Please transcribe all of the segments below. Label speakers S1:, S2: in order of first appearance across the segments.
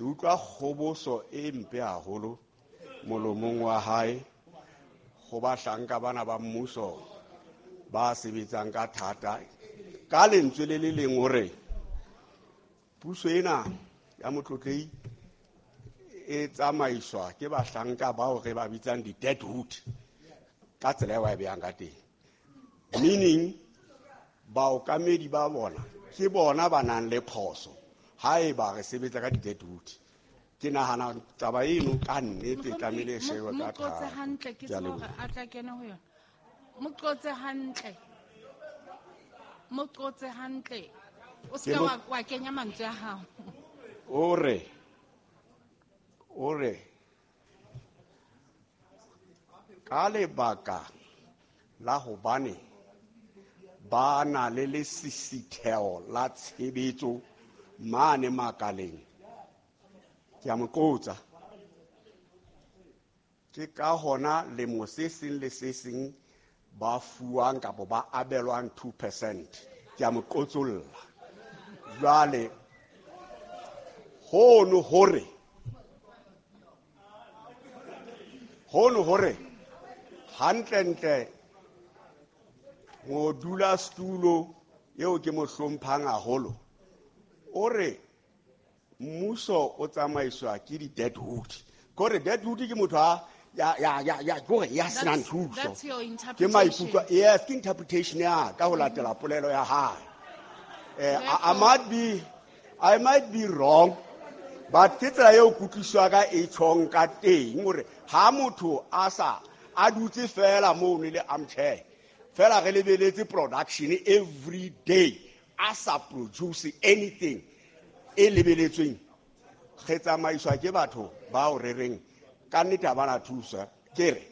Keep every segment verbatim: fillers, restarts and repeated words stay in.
S1: Ke utlwa kgoboso e mpe haholo molomong wa hae ho bahlanka bana ba mmuso ba sebetsang ka thata. Ka lentswe le le leng hore puso ena ya Motlotlei e tsamaiswa ke bahlanka bao re ba bitsang di-deadwood ka tsela eo a e behang ka teng. Meaning baokamedi ba bona ke bona ba nang le phoso haeba re sebetsa ka di-deadwood. Ke nahana taba eno ka nnete e tlamehile e shejwe ka
S2: Mo qotse
S1: thata.
S2: hantle, ke
S1: Ke a
S2: tsebe hore
S1: leboha.
S2: a tla kena ho yona. Mo qotse hantle. Mo qotse hantle. O se
S1: Ke
S2: ka
S1: mo
S2: wa, wa kenya mantswe a hao.
S1: O re, o re, ka lebaka la hobane ba na le lesisitheho la tshebetso mane makaleng. Ke a mo qotsa. Ke ka hona lemo se seng le se seng ba fuwang kapa ba abelwang two percent. Ke a mo qotsolla. Jwale hono hore, hono hore hantlentle modulasetulo eo ke mo hlomphang haholo o re mmuso o tsamaiswa ke di-deadwood. Kore deadwood ke motho a ya, ya, ya, ya, kore ya senang
S2: That's,
S1: thuso.
S2: that's your
S1: Ke
S2: interpretation.
S1: maikutlo, yes, ke interpretation ya ka ho latela polelo ya hae. Eh, I, I might be, I might be wrong, but ke tsela eo kutlwisiso ya ka e tjhong ka teng hore ha motho a sa, a dutse fela mono le armchair, fela re lebeletse production every day, a sa produce anything e lebeletsweng, re tsamaiswa ke batho bao re reng ka nnete ha bana thuso. Ke re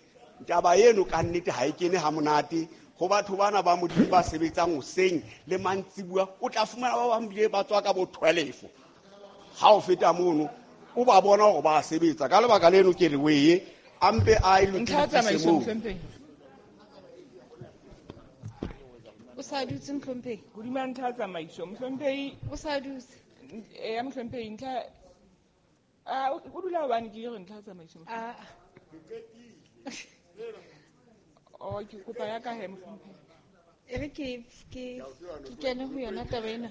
S1: taba eno ka nnete ha e kene ha monate ho batho bana ba Modimo ba sebetsang hoseng le mantsibuya. O tla fumana ba bang bile ba tswa ka bo twelve. Ha o feta mono o ba bona hore ba sebetsa. Ka lebaka leno ke re weye a mpe a e
S3: Ntlha ya
S1: lokise
S3: tsamaiso,
S1: moo.
S3: Mohlomphehi.
S2: O sa dutse, Mohlomphehi?
S3: Hodima ntlha ya tsamaiso, Mohlomphehi.
S2: O sa dutse.
S3: Eh, ya Mohlomphehi, ntlha, ah, o, o dula hobane ke re ntlha ya tsamaiso, Mohlomphehi.
S2: Ah.
S3: Oh, ke kopa ya ka he, Mohlomphehi.
S2: E re ke, ke, ke kene ho yona taba ena.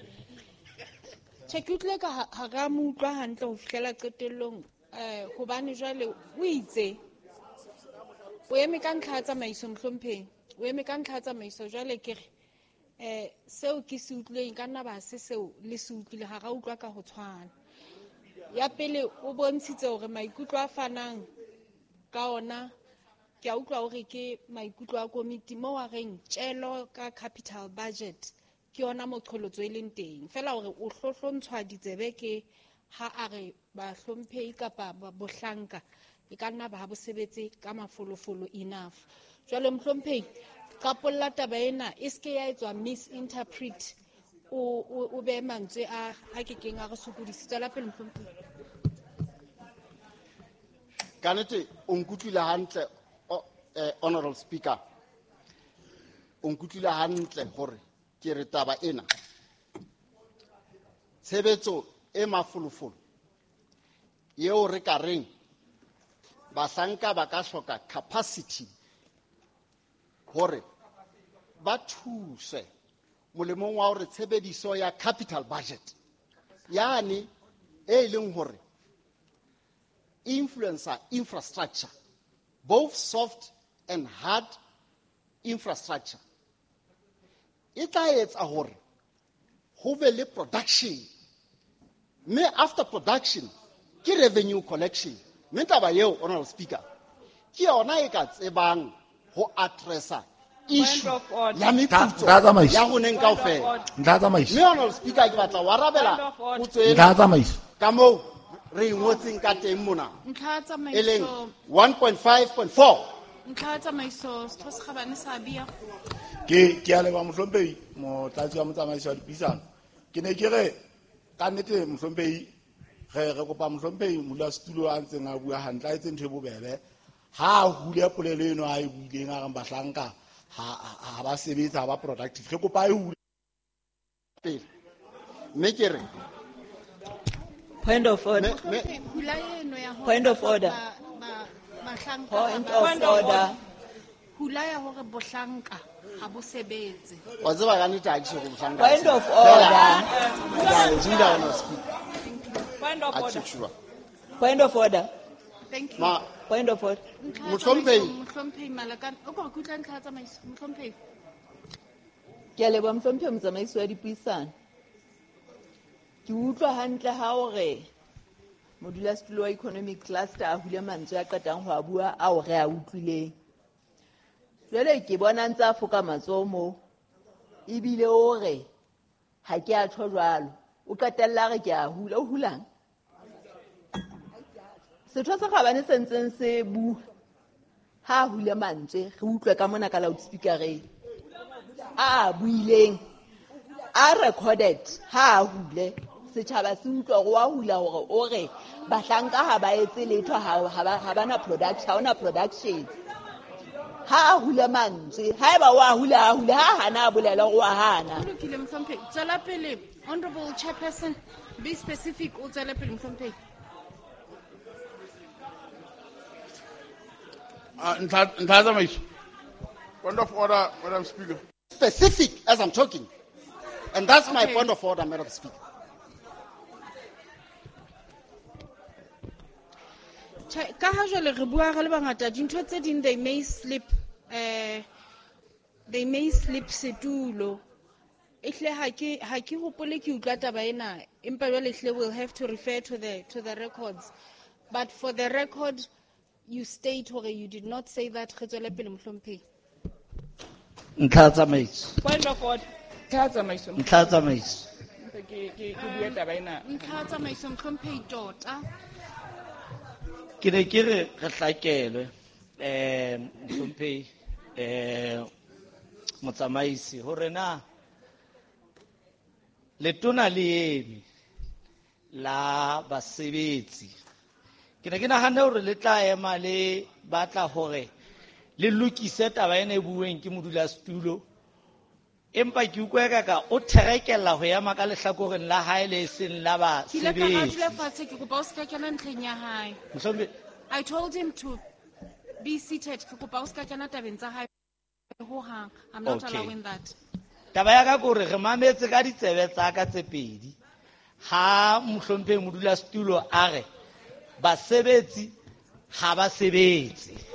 S2: Tjhe, ke utlwile ka ha, ha ra mo utlwa hantle ho fihlela qetellong, eh, hobane jwale o itse o eme ka ntlha ya tsamaiso, Mohlomphehi. O eme ka ntlha ya tsamaiso. Jwale ke re, eh, seo ke se utlwileng ka nna ba se seo le se utlwile, ha ra utlwa ka ho tshwana. Ya pele o bontshitse hore maikutlo a fanang ka ona, ke a utlwa hore ke maikutlo a komiti moo a reng tjelo ka capital budget ke yona moqholotso e leng teng. Feela hore o hlohlontshwa ditsebe ke ha a re bahlomphehi kapa ba-, bohlanka e ka nna ba ha bo sebetse ka mafolofolo enough. Jwale Mohlomphehi, qapolla taba ena e se ke ya etswa misinterpret, o, o, o behe mantswe a, a kekeng a re sokodise. Tswela pele, Mohlomphehi.
S4: Ka nnete o nkutlwile hantle, o, eh, Honorable Speaker. O nkutlwile hantle hore ke re taba ena tshebetso e mafolofolo eo re ka reng bahlanka ba ka hloka capacity hore ba thuse molemong wa hore tshebediso ya capital budget yane e leng hore influencer infrastructure, both soft and hard infrastructure, e tla etsa hore ho be le production, mme after production ke revenue collection. Mme taba eo, Honorable Speaker, ke yona e ka tsebang ho addressa issue
S3: Point of order.
S4: ya meputso
S5: Ntlha ya tsamaiso.
S4: ya roneng
S3: Point of
S4: kaofela.
S3: order.
S5: Ntlha ya tsamaiso.
S4: Mme Honorable Speaker, ke batla ho arabela
S3: Point of order.
S4: potso ena
S5: Ntlha ya tsamaiso.
S4: ka moo re e ngotseng ka teng mona.
S2: Ntlha ya tsamaiso.
S4: E leng one point five point four.
S2: Ntlha ya tsamaiso, Setho se Kgabane sa Bia.
S5: Ke, ke a leboha Mohlomphehi, motlatsi wa motsamaisi wa dipuisano. Ke ne ke re ka nnete Mohlomphehi, re, re kopa Mohlomphehi modulasetulo a ntseng a bua hantle, a etse ntho e bobebe. Ha a hule polelo eno a e buileng a reng bahlanka ha, ha, ha ba sebetse, ha ba productive. Re kopa e hule
S4: pele. Mme ke re
S6: Point of order.
S2: Mohlomphehi, hula eno ya hore
S6: Point of order.
S2: ba- ba- bahlanka
S6: Point
S2: ha ba-
S6: of order.
S2: Hula ya hore bohlanka ha bo sebetse.
S4: Wa tseba ka nnete ha ke tjho bohlanka.
S6: Point of order.
S4: Ke a e speak.
S3: Point of
S4: Ha ke
S3: order.
S4: sure.
S6: Point of order.
S2: Thank you.
S4: Ma
S6: Point of order.
S2: Ntlha ya
S4: Mohlomphehi.
S2: tsamaiso, Mohlomphehi Malakane. O ko re ke utlwa ntlha ya tsamaiso, Mohlomphehi.
S6: Ke a leboha mohlomphehi motsamaisi wa dipuisano. Ke utlwa hantle ha o re modulasetulo wa economic cluster a hule mantswe a qetang ho a bua ao re a utlwileng. Jwale ke bona ntse a foka matsoho moo, ebile o re ha ke a tjho jwalo. O qetella a re ke a hula, o hulang? Setho se kgabane se ntseng se bua, ha a hule mantswe, re utlwe ka mona ka loudspeakereng. A a buileng, a recorded, ha a hule. Setjhaba se utlwa hore wa hula hore o re bahlanka ha ba etse letho, ha, ha ba, ha ba na production, ha hona production. Ha a hule mantswe, haeba wa hula, a hule, ha hana a bolela hore wa hana.
S2: Ho lokile, Mohlomphehi. Tswela pele, Honorable Chairperson, be specific, o tswele pele, Mohlomphehi.
S7: Ah, ntlha, ntlha ya tsamaiso. Point of order, Madam Speaker.
S4: Specific as I'm talking. And that's my
S2: Okay.
S4: point of order, Madam Speaker.
S2: Tjhe, ka ha jwale re bua re le bangata, dintho tse ding they may slip, eh, they may slip setulo. Ehlile ha ke, ha ke hopole ke utlwa taba ena, empa jwale ehlile we'll have to refer to the, to the records. But for the record, you state hore you did not say that. Re tswele pele, Mohlomphehi.
S8: Ntlha ya tsamaiso.
S3: Point of order. Ntlha ya tsamaiso.
S8: Ntlha ya tsamaiso.
S3: Ke, ke, ke bue taba ena.
S2: Ntlha ya tsamaiso, Mohlomphehi tota.
S8: Ke ne ke re re hlakelwe, eh, Mohlomphehi, eh, motsamaisi, hore na letona le eme la basebetsi. Ke ne ke nahanne hore le tla ema le batla hore le lokise taba ena e bueng ke modulasetulo, empa ke utlwa eka ka o therekella ho ema ka lehlakoreng la hae le seng la
S2: Ke ile ka ra
S8: basebetsi.
S2: dula fatshe, ke kopa o se ka kena ntlheng ya hae.
S8: Mohlomphehi.
S2: I told him to be seated. Ke kopa o se ka kena tabeng tsa hae hohang. I'm not
S8: Okay.
S2: allowing that.
S8: Taba ya ka ke hore re mametse ka ditsebe tsa ka tse pedi. Ha mohlomphehi modulasetulo a re basebetsi ha ba sebetse.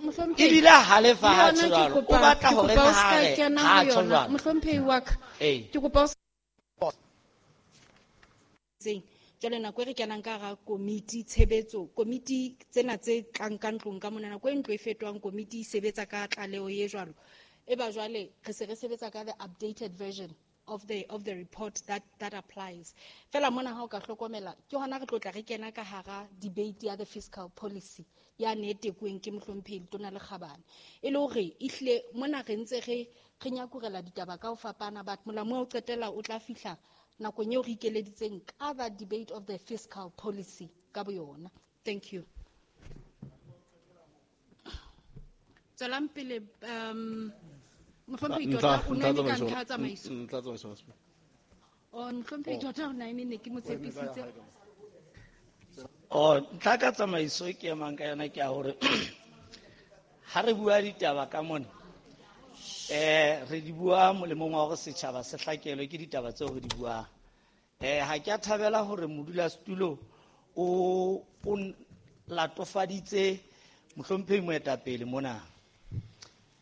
S2: Mohlomphehi,
S8: Ebile ha halefa
S2: le
S8: ha
S2: yona
S8: tjho
S2: ke
S8: jwalo. O
S2: kopa-
S8: batla
S2: ke
S8: hore
S2: kopa o
S8: na
S2: se ka
S8: re
S2: kena
S8: ha
S2: ho
S8: tjho
S2: yona.
S8: jwalo.
S2: Mohlomphehi wa ka,
S8: Ee.
S2: ke kopa o se- Jwale nako e re kenang ka hara komiti tshebetso, komiti tsena tse tlang ka ntlong ka mona, nako e ntlo e fetohang komiti e sebetsa ka tlaleho e jwalo. Eba jwale re se re sebetsa ka the updated version of the, of the report that, that applies. Fela mona ha o ka hlokomela, ke hona re tlo tla re kena ka hara debate ya the fiscal policy ya ne e tekuweng ke Mohlomphehi Letona le Kgabane. E le hore ehlile mona re ntse re, re nyakurela ditaba ka ho fapana, but molamu wa ho qetela o tla fihla nakong eo re ikeleditseng ka the debate of the fiscal policy ka boyona. Thank you. Tswelang pele, um, Mohlomphehi
S9: Ntlha-
S2: Tota, o
S9: ntlha
S2: na eme ka
S9: tsamaiso.
S2: ntlha ya tsamaiso.
S9: Ntlha tsamaiso, Masepala.
S2: Oh, Mohlomphehi Tota, o na eme, ne ke mo tshepisitse.
S8: Oh, ntlha ka tsamaiso e ke emang ka yona ke ya hore ha re bua ditaba ka mona, eh, re di bua molemong wa hore setjhaba se hlakelwe ke ditaba tseo re di buang. Eh, ha ke a thabela hore modulasetulo o, o latofaditse mohlomphehi moetapele mona.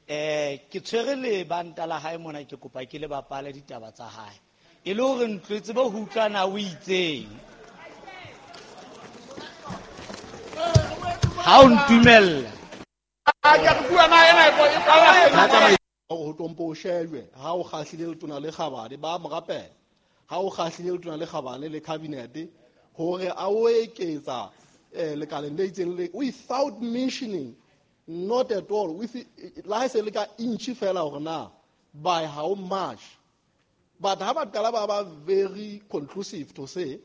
S8: Eh, ke tshwere lebanta la hae mona, ke kopa ke le bapale ditaba tsa hae. E le hore ntlo e tsebe ho utlwa na o itseng. Ha o ntumella.
S9: Hore ho tlompo o shejwe, ha o kgahlile letona le kgabane, ba mo rapela. Ha o kgahlile letona le kgabane le cabinet, hore a o eketsa, eh, lekaleng le itseng le, without mentioning, not at all, with, la ha e se le ka inch fela hore na, by how much. But ha ba qala ba ba very conclusive to say,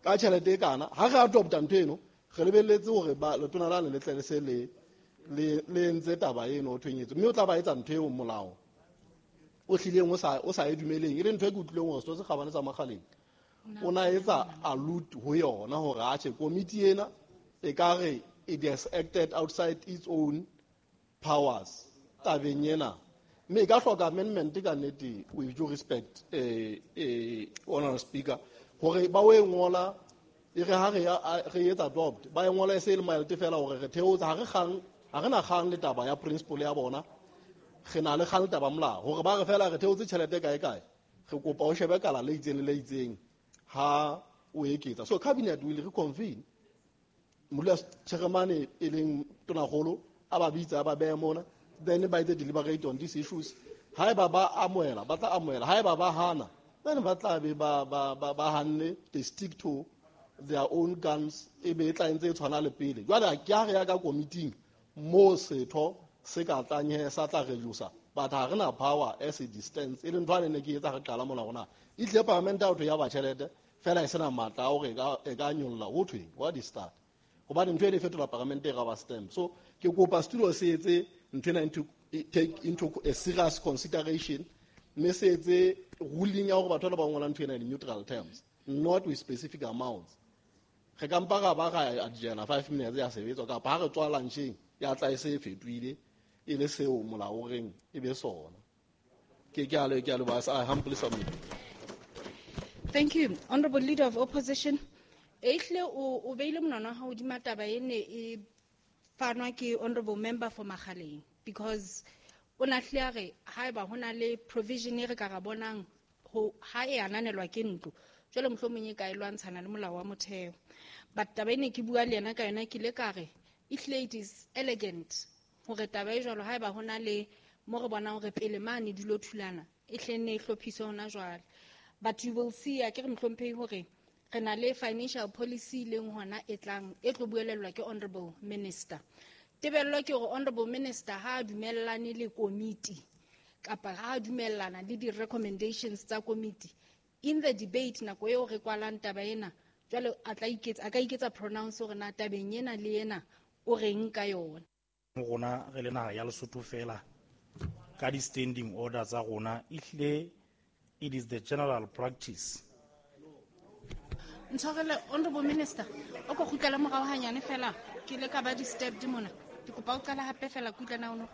S9: ka tjhelete e kana, ha re adopta ntho eno, re lebelletse hore ba, letona lane le tle le se le, le, le entse taba eno ho thweng etswe. Mme o tla ba etsa ntho eo molao o hlileng o sa, o sa e dumeleng. E le ntho e ke utlwileng hore setho se kgabane sa Makgaleng O na etsa allude ho yona hore atjhe komiti ena e ka re it has acted outside its own powers tabeng ena. Mme e ka hloka amendment ka nnete, with due respect, eh, eh, Honorable Speaker, hore ba o e ngola e re ha re ya, re etsa adopt, ba e ngola e se e le mild fela hore re theotse, ha re kgang, ha re na kgang le taba ya principle ya bona, re na le kgang le taba molao, hore ba re fela re theotse tjhelete kae kae, re kopa o shebe kala le itseng le le itseng ha o eketsa. So cabinet will reconvene. Modula Chairman e leng Tonakgolo a ba bitsa, a ba beha mona, then ba itse deliberate on these issues. Haeba ba amohela, ba tla amohela. Haeba ba hana, then ba tla be ba, ba, ba, ba hanne, they stick to their own guns, e be e tla ntse e tshwana le pele. Jwale ke ha re ya ka committee mo setho se ka tlang he sa tla reduce, but ha re na power as it stands. E leng ntho ane ne ke etsa re qala mona rona. E tlile parliament out ya ba tjhelete fela e sena matla a hore e ka, e ka nyolla ho thweng, what is that? Hobane ntho e fetola parliament e rubber stamp. So ke kopa studio se etse ntho ena into, take into a serious consideration, mme se etse ruling ya hore batho ba ba ngola ntho ena in neutral terms, not with specific amounts. Re ka mpa ra ba ra adjourna five minutes ya sebetswa, kapa ha re tswa luncheng ya tla e se e fetohile e le seo molao o reng e be sona. Ke, ke a le, ke a leboha, I humbly submit.
S2: Thank you, Honorable Leader of Opposition. Ehle o, o beile monwana wa hao hodima taba e ne e fanwa ke Honorable Member for Makgaleng, because o na hlile a re haeba ho na le provision e re ka ra bonang ho ha e ananelwa ke ntlo, jwale mohlomong e ka e lwantshana le molao wa motheo. But taba e ne ke bua le yena ka yona, ke ile ka re ehlile it is elegant hore taba e jwalo haeba ho na le mo re bonang hore pele mane di lo thulana, e hle nne e hlophiswe hona jwale. But you will see, a ke re mohlomphehi hore re na le financial policy leng hona e tlang e tlo buelellwa ke Honorable Minister. Tebello ke hore Honorable Minister ha a dumellane le komiti kapa ha a dumellana le di-recommendations tsa komiti in the debate nako eo re kwalang taba ena, jwale a tla iketsa, a ka iketsa pronounce hore na tabeng ena le ena o reng ka yona.
S10: Mo rona re le naha ya Lesotho fela ka di-standing order tsa rona, ehlile it is the general practice.
S2: Ntshwarele, Honorable Minister, o ko kgutlela morao hanyane fela, ke ile ka ba disturbed mona. Ke kopa o qala hape fela ke utlwe na o no.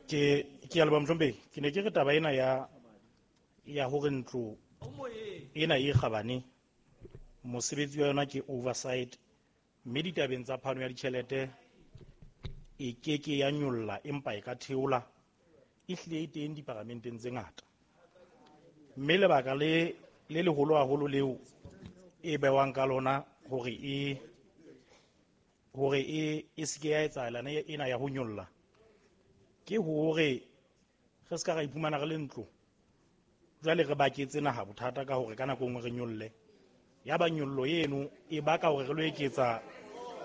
S10: Ke, ke a leboha mohlomphehi. Ke ne ke re taba ena ya, ya hore ntlo ena e kgabane, mosebetsi wa yona ke oversight, mme ditabeng tsa phano ya ditjhelete e ke ke ya nyolla empa e ka theola, e hlile e teng diparamenteng tse ngata. Mme lebaka le, le leholo haholo leo e bewang ka lona hore e, hore e, e se ke ya etsahala ena ya ho nyolla, ke hore re se ka ra iphumana re le ntlo jwale re baketse naha bothata ka hore ka nako e nngwe re nyolle. Ya ba nyollo eno e baka hore re lo eketsa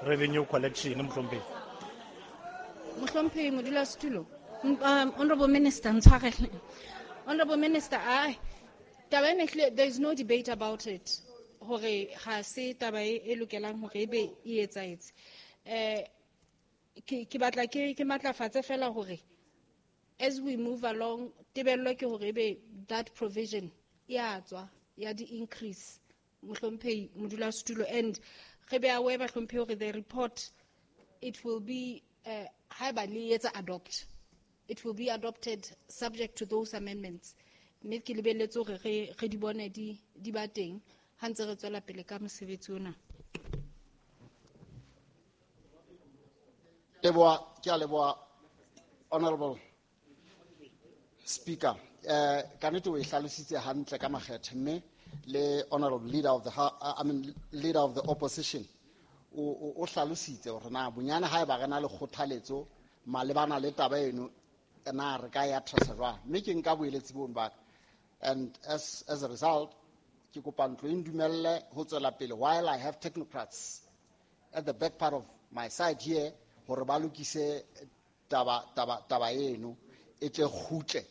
S10: revenue collection, mohlomphehi.
S2: Mohlomphehi modulasetulo, um, Honorable Minister, ntshwarele. Honorable Minister, ai, taba ena ehlile, there is no debate about it. Hore ha se taba e, e lokelang hore ebe e etsahetse. Eh, ke, ke batla ke, ke matlafatse fela hore as we move along, tebello ke hore ebe that provision e a tswa ya di-increase, mohlomphehi modulasetulo, and re be aware bahlomphehi hore the report, it will be, uh, haeba le etsa adopt, it will be adopted subject to those amendments. Mme ke lebelletse hore re, re di bone di, di ba teng ha ntse re tswela pele ka mosebetsi ona.
S4: Leboha, ke a leboha, Honorable Speaker. Eh, ka nnete o e hlalositse hantle ka makgethe, mme le Honorable Leader of the ha-, I mean, Leader of the Opposition o, o, o hlalositse hore na bonyane haeba re na le kgothaletso malebana le taba eno, na re ka ya addressa jwang. Mme ke nka boeletsi bono ba ka. And as, as a result, ke kopa ntlo e ndumelle ho tswela pele while I have technocrats at the back part of my side here hore ba lokise taba, taba, taba eno e tle kgutle,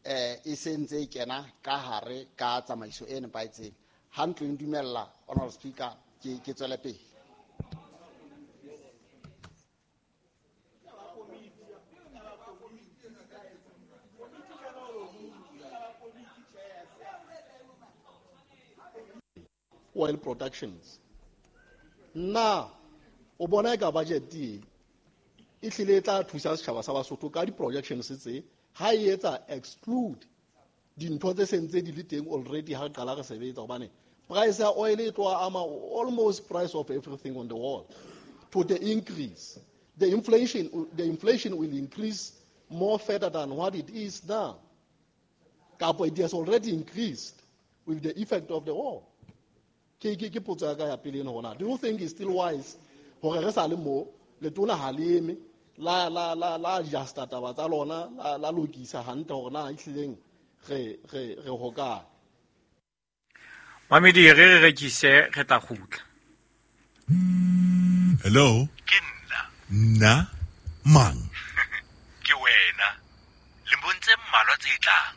S4: eh, e se ntse e kena ka hare ka tsamaiso e nepahetseng. Ha ntlo e ndumella, Honorable Speaker, ke, ke tswele pele.
S9: oil productions. Na o bona eka budget e e hlile e tla thusa setjhaba sa Basotho ka di-projections tse ha e etsa exclude dintho tse sentse di le teng already ha re qala re sebetsa, hobane price ya oil e tloha ama almost price of everything on the world to the increase. The inflation, the inflation will increase more further than what it is now. Kapo it has already increased with the effect of the war. Ke ke ke potso ya ka ya pele eno hona. Do you think it's still wise hore re sa le mo letona ha le eme la la la la adjusta taba tsa lona la la lokisa hantle hore na ehlileng re re re hokae?
S11: Mamedi re re rekise re tla kgutla.
S12: Hello?
S13: Ke nna.
S12: Nna mang?
S13: Ke wena. Lemong tse mmalwa tse tlang.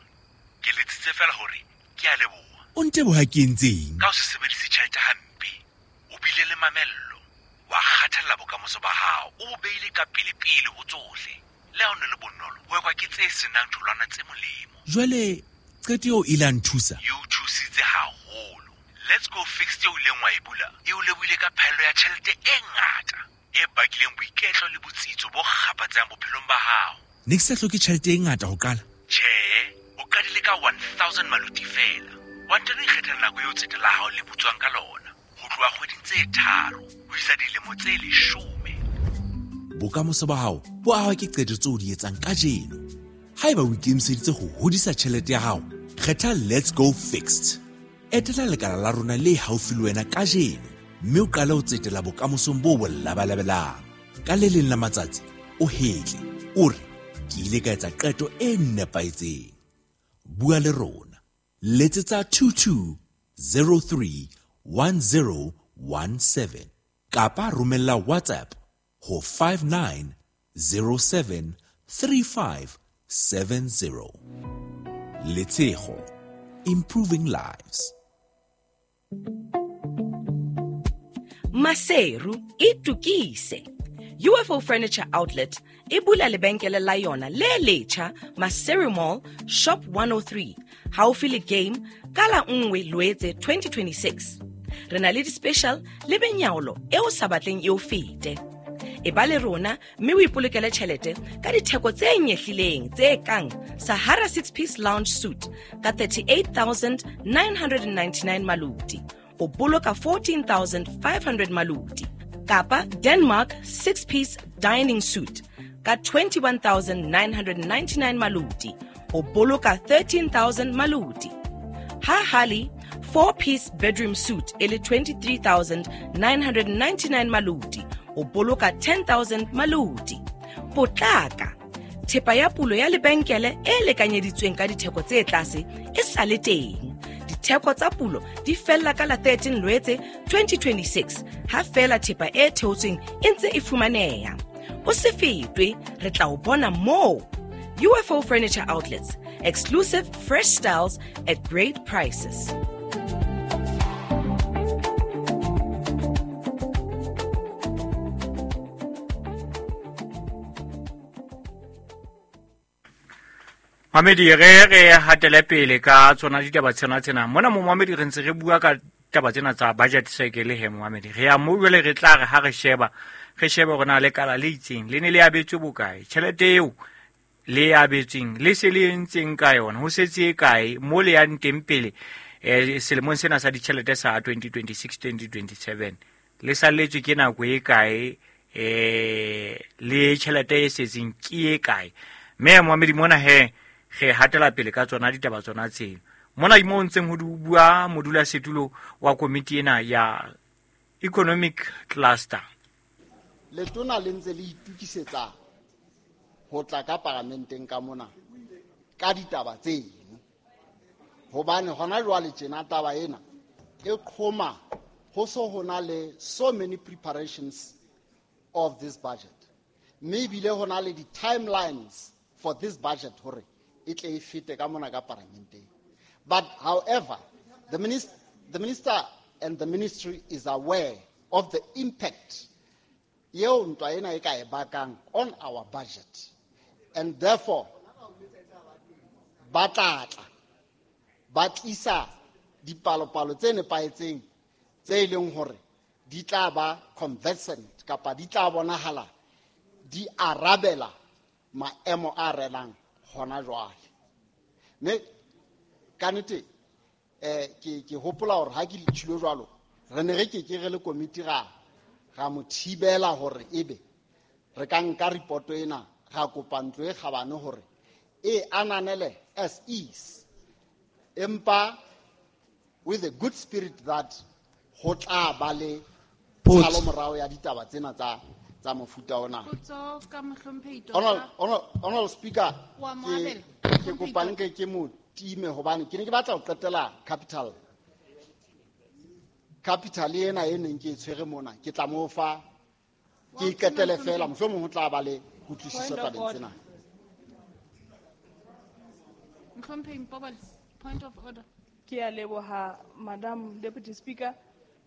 S13: Ke letsitse fela hore ke a leboha.
S12: O nteboha ke entseng?
S13: Ka ho se sebedise tjhelete hampe. O bile le mamello. Wa kgathalla bokamoso ba hao. O bo beile ka pele-pele ho tsohle. Le ha o ne le bonolo, ho ekwa ke tse senang tholwana tse molemo.
S12: Jwale qeto eo e la nthusa?
S13: E o thusitse haholo. Let's Go Fixed eo ileng wa e bula e o lebohile ka phaello ya tjhelete e ngata e bakileng boiketlo le botsitso bo kgapatsang bophelong ba hao.
S12: Ne ke sa hloke tjhelete e ngata ho qala?
S13: Tjhe, o qadile ka one thousand maluti fela. Wa ntano ikgethela nako eo tsete la hao le butswang ka lona, ho tloha kgweding tse tharo ho isa dilemo tse leshome.
S12: Bokamoso ba hao bo ahwa ke qeto tseo o di etsang kajeno. Haeba o ikemiseditse ho hodisa tjhelete ya hao, kgetha Let's Go Fixed. Etela lekala la rona le haufi le wena kajeno mme o qale ho tsetela bokamosong bo bo labalabelang. Ka le leng la matsatsi o hetle o re ke ile ka etsa qeto e nepahetseng. Bua le rona. Letsetsa two two zero three one zero one seven kapa romella WhatsApp ho five nine zero seven three five seven zero. Letshego, improving lives.
S14: Maseru itukise. U F O Furniture Outlet e bula lebenkele la yona le letjha Maseru Mall Shop one oh three haufi le Game ka la nngwe Loetse twenty twenty-six. Re na le di-special le benyaolo e o sa batleng e o fete. E ba le rona mme o ipolokele tjhelete ka ditheko tse nyehlileng tse kang Sahara six-piece lounge suite ka thirty-eight thousand nine hundred ninety-nine maluti, o boloka fourteen thousand five hundred maluti, kapa Denmark six-piece dining suite ka twenty-one thousand nine hundred ninety-nine maluti, o boloka thirteen thousand maluti. Ha Hali four-piece bedroom suite e le twenty-three thousand nine hundred ninety-nine maluti, o boloka ten thousand maluti. Potlaka, thepa ya pulo ya lebenkele e lekanyeditsweng ka ditheko tse tlase e sa le teng. Ditheko tsa pulo di fella ka la thirteen Loetse twenty twenty-six ha fela thepa e theotsweng e ntse e fumaneha. O se fetwe, re tla o bona moo. U F O Furniture Outlets, exclusive fresh styles at great prices.
S11: Mamedi re re hatele pele ka tsona ditaba tsena tsena. Mona mo Mamedi re ntse re bua ka taba tsena tsa budget cycle he Mamedi. Re ya mo jwale re tla re ha re sheba, re shebe hore na le kala le itseng le ne le abetswe bokae. Tjhelete eo le abetsweng le se le entseng ka yona ho setse e kae mo le yang teng pele eh selemong sena sa ditjhelete sa twenty twenty-six twenty twenty-seven le salletswe ke nako e kae eh le tjhelete e setseng ke e kae. Mme Mamedi mona he re hatela pele ka tsona ditaba tsona tseno. Mona mo ntseng ho bua modulasetulo wa komiti ena ya economic cluster.
S4: Letona le ntse le itukisetsa ho tla ka paramenteng ka mona ka ditaba tseno. Hobane hona jwale tjena taba ena e qhoma ho so hona le so many preparations of this budget. Mme ebile hona le di-timelines for this budget hore e tle e fete ka mona ka paramenteng. But however, the minister, the minister and the ministry is aware of the impact eo ntwa ena e ka e bakang on our budget. And therefore, ba tla tla, ba tlisa dipalopalo tse nepahetseng tse e leng hore di tla ba conversant kapa di tla bonahala di arabela maemo a renang hona jwale. Mme ka nnete eh ke ke hopola hore ha ke le tshilo jwalo re ne re ke ke re le komiti ra ra mo thibela hore ebe re ka nka report ena ra kopa ntlo e kgabane hore e ananele as is, empa with a good spirit that ho tla ba le tshalo morao ya ditaba tsena tsa tsa mofuta ona.
S2: Potso ka mohlomphehi Tota.
S4: Honorable, honorable Speaker,
S2: Wa
S4: ke
S2: moabela.
S4: ke kopa nke ke mo time hobane ke ne ke batla ho qetela capital. Capital ena e neng ke e tshwere mona, ke tla mo fa ke e qetele fela, mohlomong ho tla ba le kutlwisiso
S3: Point of
S4: tabeng
S3: order.
S4: tsena.
S2: Mohlomphehi Mpobole, point of order.
S3: Ke a leboha Madam Deputy Speaker.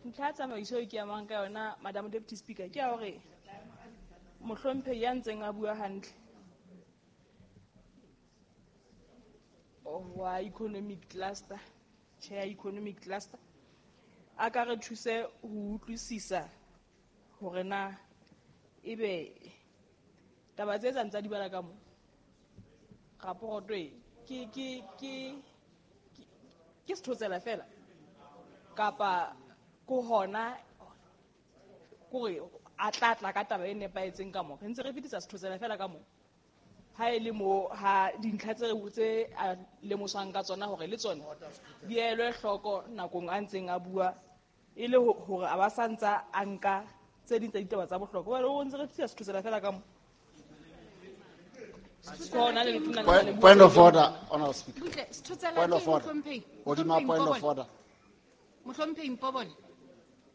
S3: Ntlha ya tsamaiso e ke amang ka yona Madam Deputy Speaker ke ya hore mohlomphehi ya ntseng a bua hantle wa economic cluster, chair economic cluster, a ka re thuse ho utlwisisa hore na ebe taba tse tsa ntsa di bala ka mo raporoto e ke ke ke ke sethotsela fela kapa ko hona kore a tla tla ka taba e nepahetseng ka mo re ntse re fetisa sethotsela fela ka mo ha e le mo ha dintlha tse re tse a lemoswang ka tsona hore le tsona di elwe hloko nakong a ntseng a bua e le hore a ba sa ntsa a nka tse ding tsa ditaba tsa bohlokwa. Jwale o ntse re fetisa sethotsela fela ka mo.
S4: Point, point of order, Honorable Speaker.
S2: Butle, sethotsela
S4: Point
S2: ke
S4: of order.
S2: mohlomphehi.
S4: Hodima
S2: Mohlomphehi
S4: point of
S2: Mpobole.
S4: order.
S2: Mohlomphehi Mpobole.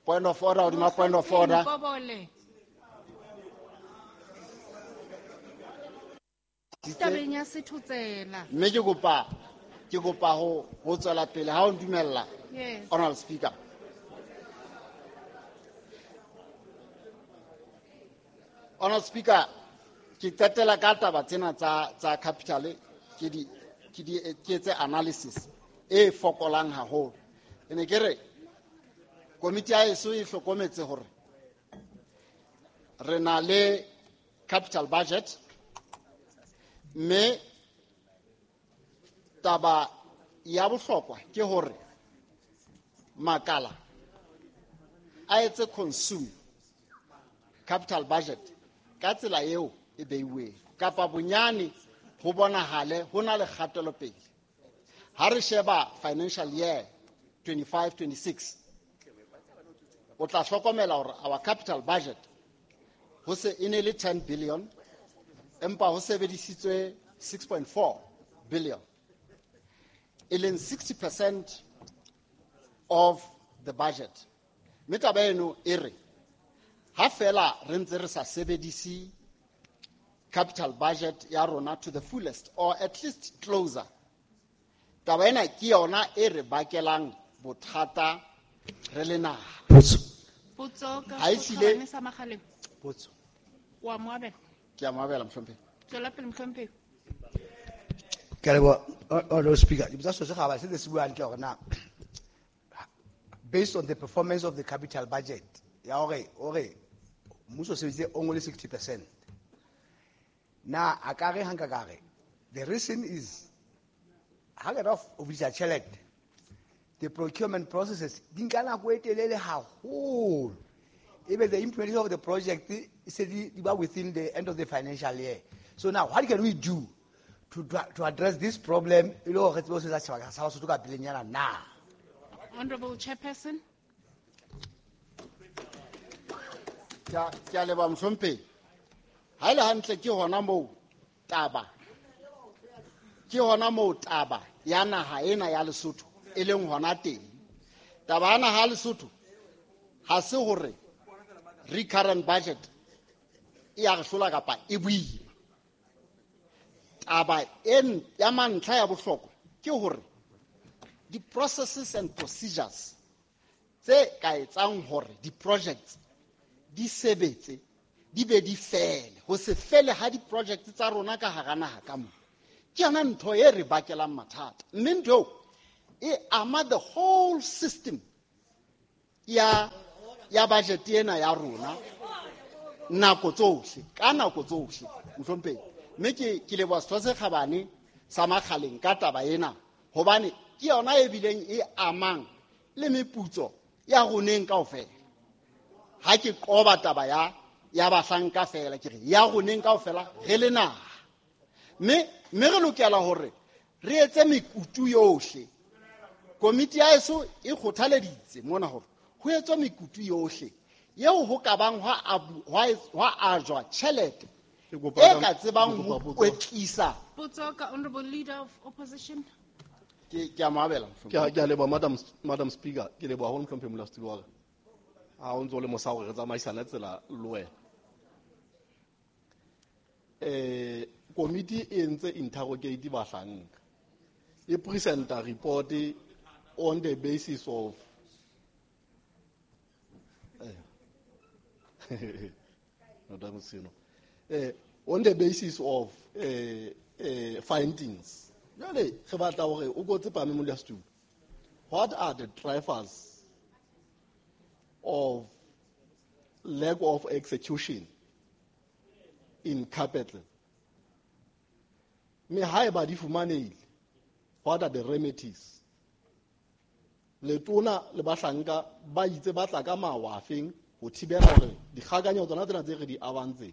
S4: Point of order, hodima point of order.
S2: Mpobole. Tabeng ya sethotsela.
S4: Mme ke kopa ke kopa ho ho tswela pele ha o ntumella.
S2: Yes.
S4: Honorable Speaker. Honorable Speaker, ke qetela ka taba tsena tsa tsa capital ke di ke di ke etse analysis e fokolang haholo. Ke ne ke re komiti ya eso e hlokometse hore re na le capital budget mme taba ya bohlokwa ke hore makala a etse consume capital budget ka tsela eo e beiweng kapa bonyane ho bonahale ho na le kgatelopele. Ha re sheba financial year twenty-five twenty-six o tla hlokomela hore our capital budget ho se e ne le ten billion empa ho sebedisitswe six point four billion e leng sixty percent of the budget. Mme taba eno e re ha fela re ntse re sa sebedise capital budget ya rona to the fullest or at least closer, taba ena ke yona e re bakelang bothata re le naha.
S1: Potso.
S2: Potso ka
S4: Ha e hlile-
S2: Sekgabane sa Makgaleng.
S1: Potso.
S2: Wa mo abela.
S4: Ke a mo abela, mohlomphehi.
S2: Tswela pele, mohlomphehi.
S1: Ke a leboha, Honorable Speaker. Ke botsa selo se gabane, se ne se bua hantle hore na based on the performance of the capital budget ya hore hore mmuso o sebeditse only sixty percent. Na a ka re ha nka ka re the reason is ha ke ra o fetisa tjhelete the procurement processes di nka nako e telele haholo. Ebe the implementation of the project e se di, di ba within the end of the financial year. So now what can we do to, to address this problem e le hore re tsebe ho sebetsa setjhaba sa Basotho ka pelenyana na?
S2: Honorable Chairperson.
S4: Ke a, ke a leboha, mohlomphehi. Ha e le hantle ke hona moo taba, ke hona moo taba ya naha ena ya Lesotho e leng hona teng. Taba ya naha ya Lesotho ha se hore recurrent budget e ya re hlola kapa e boima. Taba e ya mantlha ya bohlokwa ke hore di-processes and procedures tse ka etsang hore di-projects di sebetse di be di fele, ho se fele ha di-projects tsa rona ka hara naha ka mona ke yona ntho e re bakelang mathata. Mme ntho eo e ama the whole system, ya ya budget ena ya rona nako tsohle ka nako tsohle mohlomphehi. Mme ke ke leboha Setho se Kgabane sa Makgaleng ka taba ena, hobane ke yona e bileng e amang le meputso ya roneng kaofela. Ha ke qoba taba ya ya bahlanka fela, ke re ya roneng kaofela re le naha. Mme mme re lokela hore re etse mekutu yohle. Komiti ya eso e kgothaleditse mona hore ho etswe mekutu yohle eo ho ka bang hwa hwa ajwa tjhelete e ka tsebang ho kwetlisa.
S2: Potso ka Honorable Leader of Opposition.
S4: Ke ke a mo abela.
S9: Ke a ke a leboha Madam Madam Speaker, ke leboha haholo mohlomphehi modulasetulo wa ka. Ha o ntso le mosa hore re tsamaisane tsela le wena. Eh komiti e entse interrogate bahlanka. E presenta report on the basis of eh Madam Sino. Eh on the basis of eh eh findings. Jwale re batla hore o ko tsepame modulasetulo. What are the drivers of lack of execution in capital? Mme haeba di fumanehile, what are the remedies? Letona le bahlanka ba itse ba tla ka mawa afeng ho thibela hore dikgakanyo tsona tsena tse re di abantseng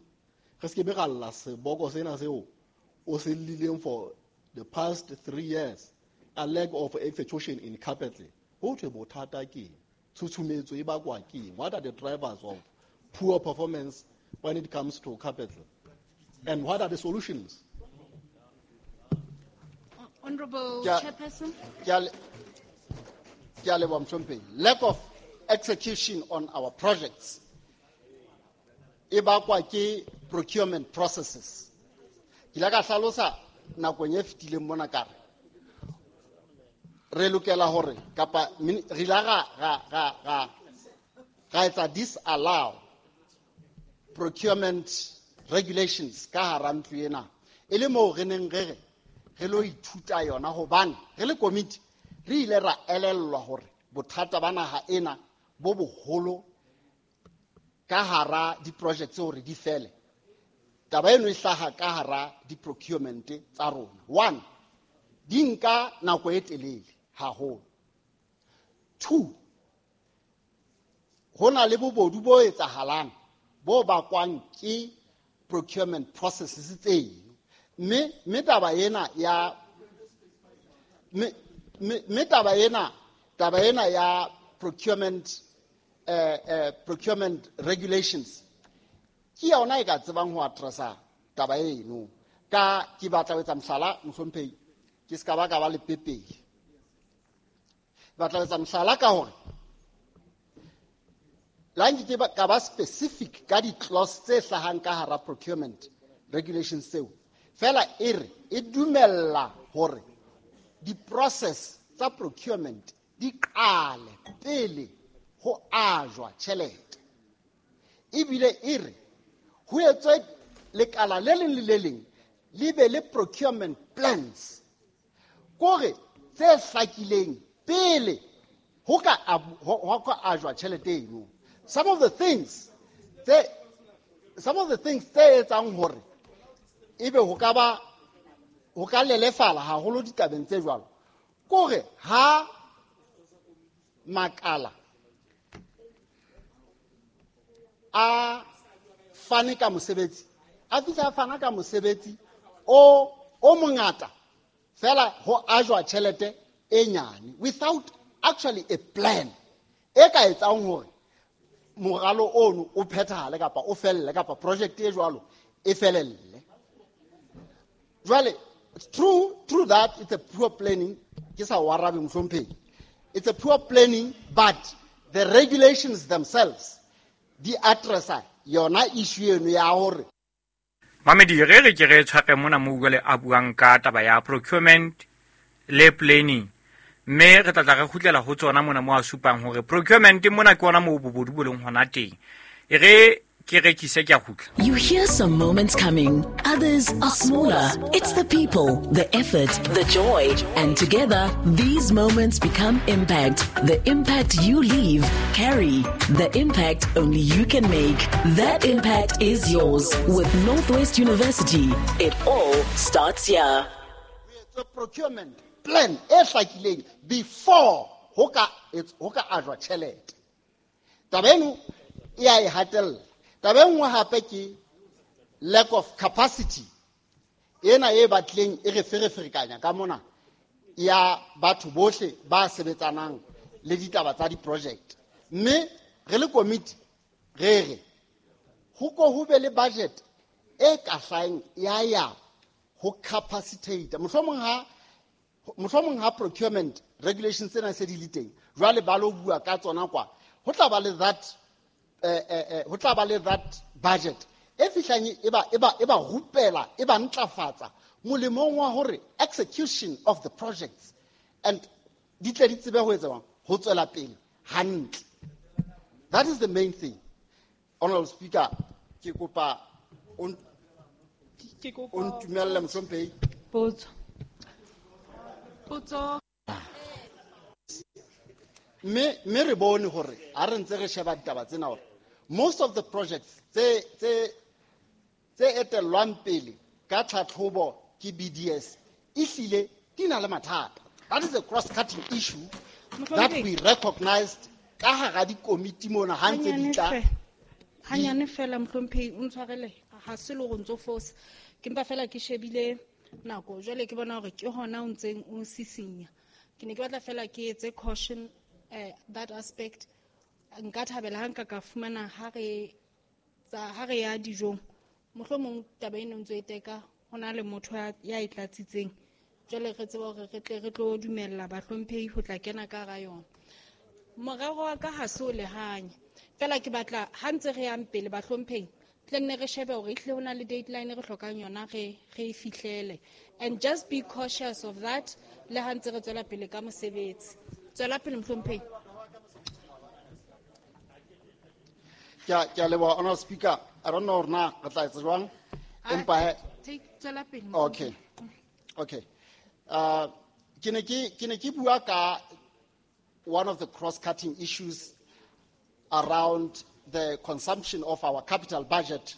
S9: re se ke be ra lla seboko sena seo o se llileng for the past three years, a lack of execution in capital. Ho thwe bothata ke tshutshumetso e bakwa ke eng? What are the drivers of poor performance when it comes to capital? And what are the solutions?
S2: Honorable Chairperson.
S4: Ke a leboha mohlomphehi. Lack of execution on our projects e bakwa ke procurement processes. Ke ile ka hlalosa nakong e fetileng mona ka re re lokela hore kapa re ile ra ra ra ra ra etsa disallow procurement regulations ka hara ntlo ena, e le moo re neng re re re lo ithuta yona, hobane re le komiti re ile ra elellwa hore bothata ba naha ena bo boholo ka hara di-projects hore di fele. Taba eno e hlaha ka hara di-procurement tsa rona. One, di nka nako e telele haholo. Two, ho na le bobodu bo etsahalang bo bakwang ke procurement processes tseno. Mme mme taba ena ya mme mme taba ena taba ena ya procurement eh eh procurement regulations ke yona e ka tsebang ho addressa taba eno. Ka ke batla ho etsa mohlala mohlomphehi, ke ska ba ka ba le pepele. Batla ho etsa mohlala ka hore la nke ke ka ba specific ka di-clause tse hlahang ka hara procurement regulations tseo. Fela e re e dumella hore di-process tsa procurement di qale pele ho ajwa tjhelete. Ebile e re ho etswe lekala le leng le le leng le be le procurement plans kore tse hlakileng pele ho ka ho ka ajwa tjhelete eno. Some of the things tse some of the things tse etsang hore ebe ho ka ba ho ka lelefala haholo ditabeng tse jwalo kore ha makala a fane ka mosebetsi a fihla a fana ka mosebetsi o o mongata fela ho ajwa tjhelete e nyane without actually a plan e ka etsang hore moralo ono o phethahale kapa o felle kapa project e jwalo e felelle. Jwale through through that it's a poor planning. Ke sa o arabe mohlomphehi. It's a poor planning, but the regulations themselves di addressa yona issue eno ya hore
S11: Mamedi re re ke re tshware mona mo jwale a buang ka taba ya procurement le planning, mme re tla tla re kgutlela ho tsona mona mo a supang hore procurement mona ke ona moo bobodu bo leng hona teng. E re Ke rekise ke a kgutla.
S14: You hear some moments coming, others are smaller. It's the people, the effort, the joy, and together these moments become impact. The impact you leave, carry. The impact only you can make. That impact is yours with Northwest University. It all starts here.
S4: The procurement plan e hlakileng before ho ka ho ka ajwa tjhelete. Taba eno e a e hatella. Taba e nngwe hape ke lack of capacity ena e batleng e re fereferekanya ka mona ya batho bohle ba sebetsanang le ditaba tsa di-project. Mme re le committee re re ho ko ho be le budget e ka hlahang ya ya ho capacitate. Mohlomong ha mohlomong ha procurement regulations tsena se di le teng jwale ba lo bua ka tsona kwa ho tla ba le that eh eh ho tla ba le that budget e fihlang e ba e ba e ba rupela e ba ntlafatsa molemong wa hore execution of the projects and di tle di tsebe ho etsa ho tswela pele hantle. That is the main thing. Honorable Speaker, ke kopa o ntumelle mohlomphehi.
S2: Potso. Potso.
S4: Mme mme re bone hore ha re ntse re sheba ditaba tsena hore most of the projects tse tse tse etellwang pele ka tlhatlhobo ke B D S ehlile di na le mathata. That is a cross-cutting issue that we recognized ka hara dikomiti mona ha ntse di tla.
S2: Hanyane fela mohlomphehi o ntshwarele ha se le hore ntso fosa. Ke mpa fela ke shebile nako jwale ke bona hore ke hona o ntseng o sisinya. Ke ne ke batla fela ke etse caution eh that aspect. Nka thabela ha nka ka fumana ha re tsa ha re ya dijong mohlomong taba eno ntse e teka hona le motho ya e tlatsitseng jwale re tseba hore re tle re tlo dumella bahlomphehi ho tla kena ka ra yona. Morero wa ka ha se o lehanya fela ke batla ha ntse re yang pele bahlomphehi tle nne re shebe hore ehlile hona le deadline re hlokang yona re re e fihlele, and just be cautious of that le ha ntse re tswela pele ka mosebetsi. Tswela pele mohlomphehi.
S4: Ke a leboha Honorable Speaker. I don't know hore na re tla etsa jwang empa
S2: take tswela pele.
S4: Okay. Okay. Uh ke ne ke ke ne ke bua ka one of the cross-cutting issues around the consumption of our capital budget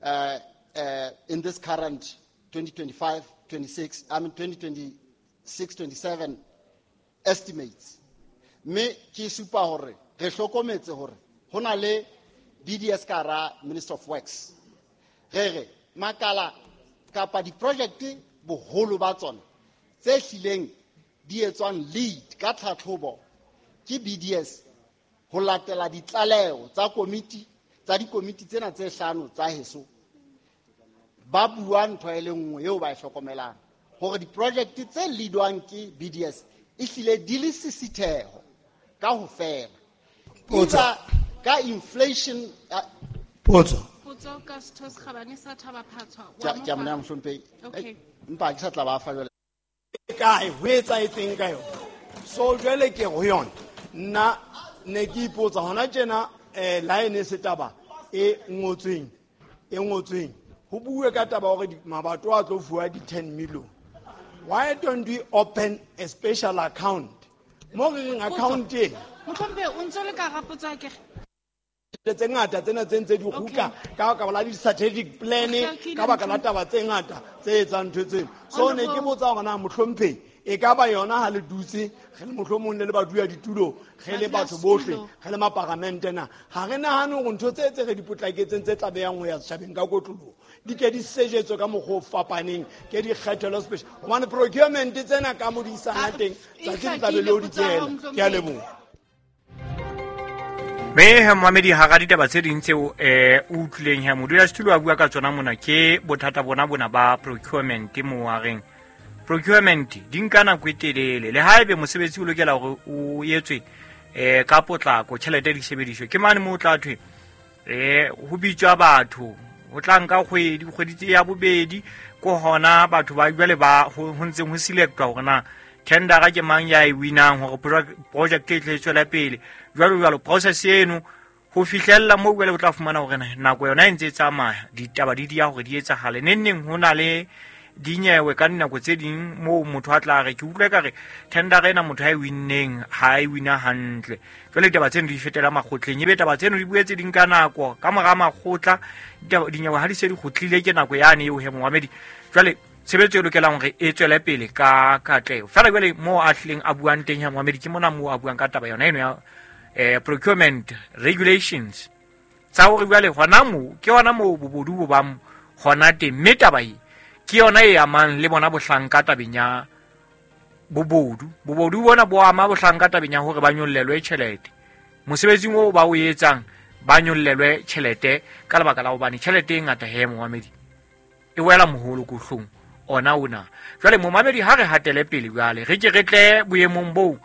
S4: uh, uh, in this current twenty twenty-five twenty-six, I mean twenty twenty-six twenty-seven estimates. Me ke supa hore re hlokometse hore ho na le B D S ka hara Minister of Works. Re re makala kapa di-project boholo ba tsona tse hlileng di etswang lead ka tlhatlhobo ke B D S ho latela ditlaleho tsa komiti tsa dikomiti tsena tse hlano tsa heso ba bua ntho e le nngwe eo ba e hlokomelang hore di-project tse leadwang ke B D S ehlile di le sisitheho ka ho fela. Potso ka inflation.
S15: Potso.
S2: Potso ka setho se kgabane sa Thaba Phatshwa.
S4: Ke a mo neha mohlomphehi.
S2: Okay.
S4: Empa ke sa tla ba fa jwale.
S15: Kae ho etsahetseng ka yona? So jwale ke ho yona. Nna ne ke ipotsa hona tjena eh line se taba e ngotsweng e ngotsweng ho bue ka taba hore mabato a tlo fuwa di ten million. Why don't we open a special account? Mo re reng account e
S2: Mohlomphehi o ntse le ka rapotsa ke
S15: tse ngata tsena tse ntse di kgutla ka baka la di-strategic plan ka baka la taba tse ngata tse etsang ntho tseno. So ne ke botsa hore na mohlomphehi e ka ba yona ha le dutse re le mohlomong le le baduya ditulo re le batho bohle re le maparamente na ha re nahane hore ntho tse tse re di potlaketseng tse tla beyang ho ya setjhabeng ka kotloloho di ke di sejetswe ka mokgwa o fapaneng ke di kgethelwe special hobane procurement tsena ka mo di isana teng tsatsi le tla be le o di tsela. Ke a leboha.
S11: Me he momedi hara ditaba tse ding tseo eh o utlwileng he modulasetulo a bua ka tsona mona ke bothata bona bona ba procurement mo wa reng procurement di nka nako e telele le haebe mosebetsi o lokela hore o etswe eh ka potlako tjhelete di sebediswe ke mane mo tla thwe eh ho bitswa batho ho tla nka kgwedi kgwedi tse ya bobedi ko hona batho ba jwale ba ho ntseng ho selectwa hore na tendera ke mang ya e winang hore project e tle tswela pele jwalo jwalo process eno Ho fihlella moo jwale o tla fumana hore nako yona e ntse e tsamaya, ditaba di dia hore di etsahale. Neng neng ho na le dinyewe ka dinako tse ding moo motho a tla re ke utlwe ka re tender ena motho ha e winneng ha e wina hantle. Jwale ditaba tseno di fetela makgotleng, ebe taba tseno di boetse di nka nako ka mora makgotla, dinyewe ha di se di kgutlile ke nako yane eo he momamedi. Jwale tshebetso e lokelang hore e tswele pele ka katleho. Feela jwale moo a hlileng a buang teng he momamedi, ke mona moo a buang ka taba yona eno ya eh procurement regulations tsa hore jwale hona moo ke hona moo bobodu bo bang hona teng, mme taba e ke yona e amang le bona bohlanka tabeng ya bobodu. Bobodu bona bo ama bohlanka tabeng ya hore ba nyollelwe tjhelete mosebetsing oo ba o etsang, ba nyollelwe tjhelete ka lebaka la hobane tjhelete e ngata he momamedi e wela moholo kohlong ona ona. Jwale momamedi ha re hatele pele jwale re ke re tle boemong boo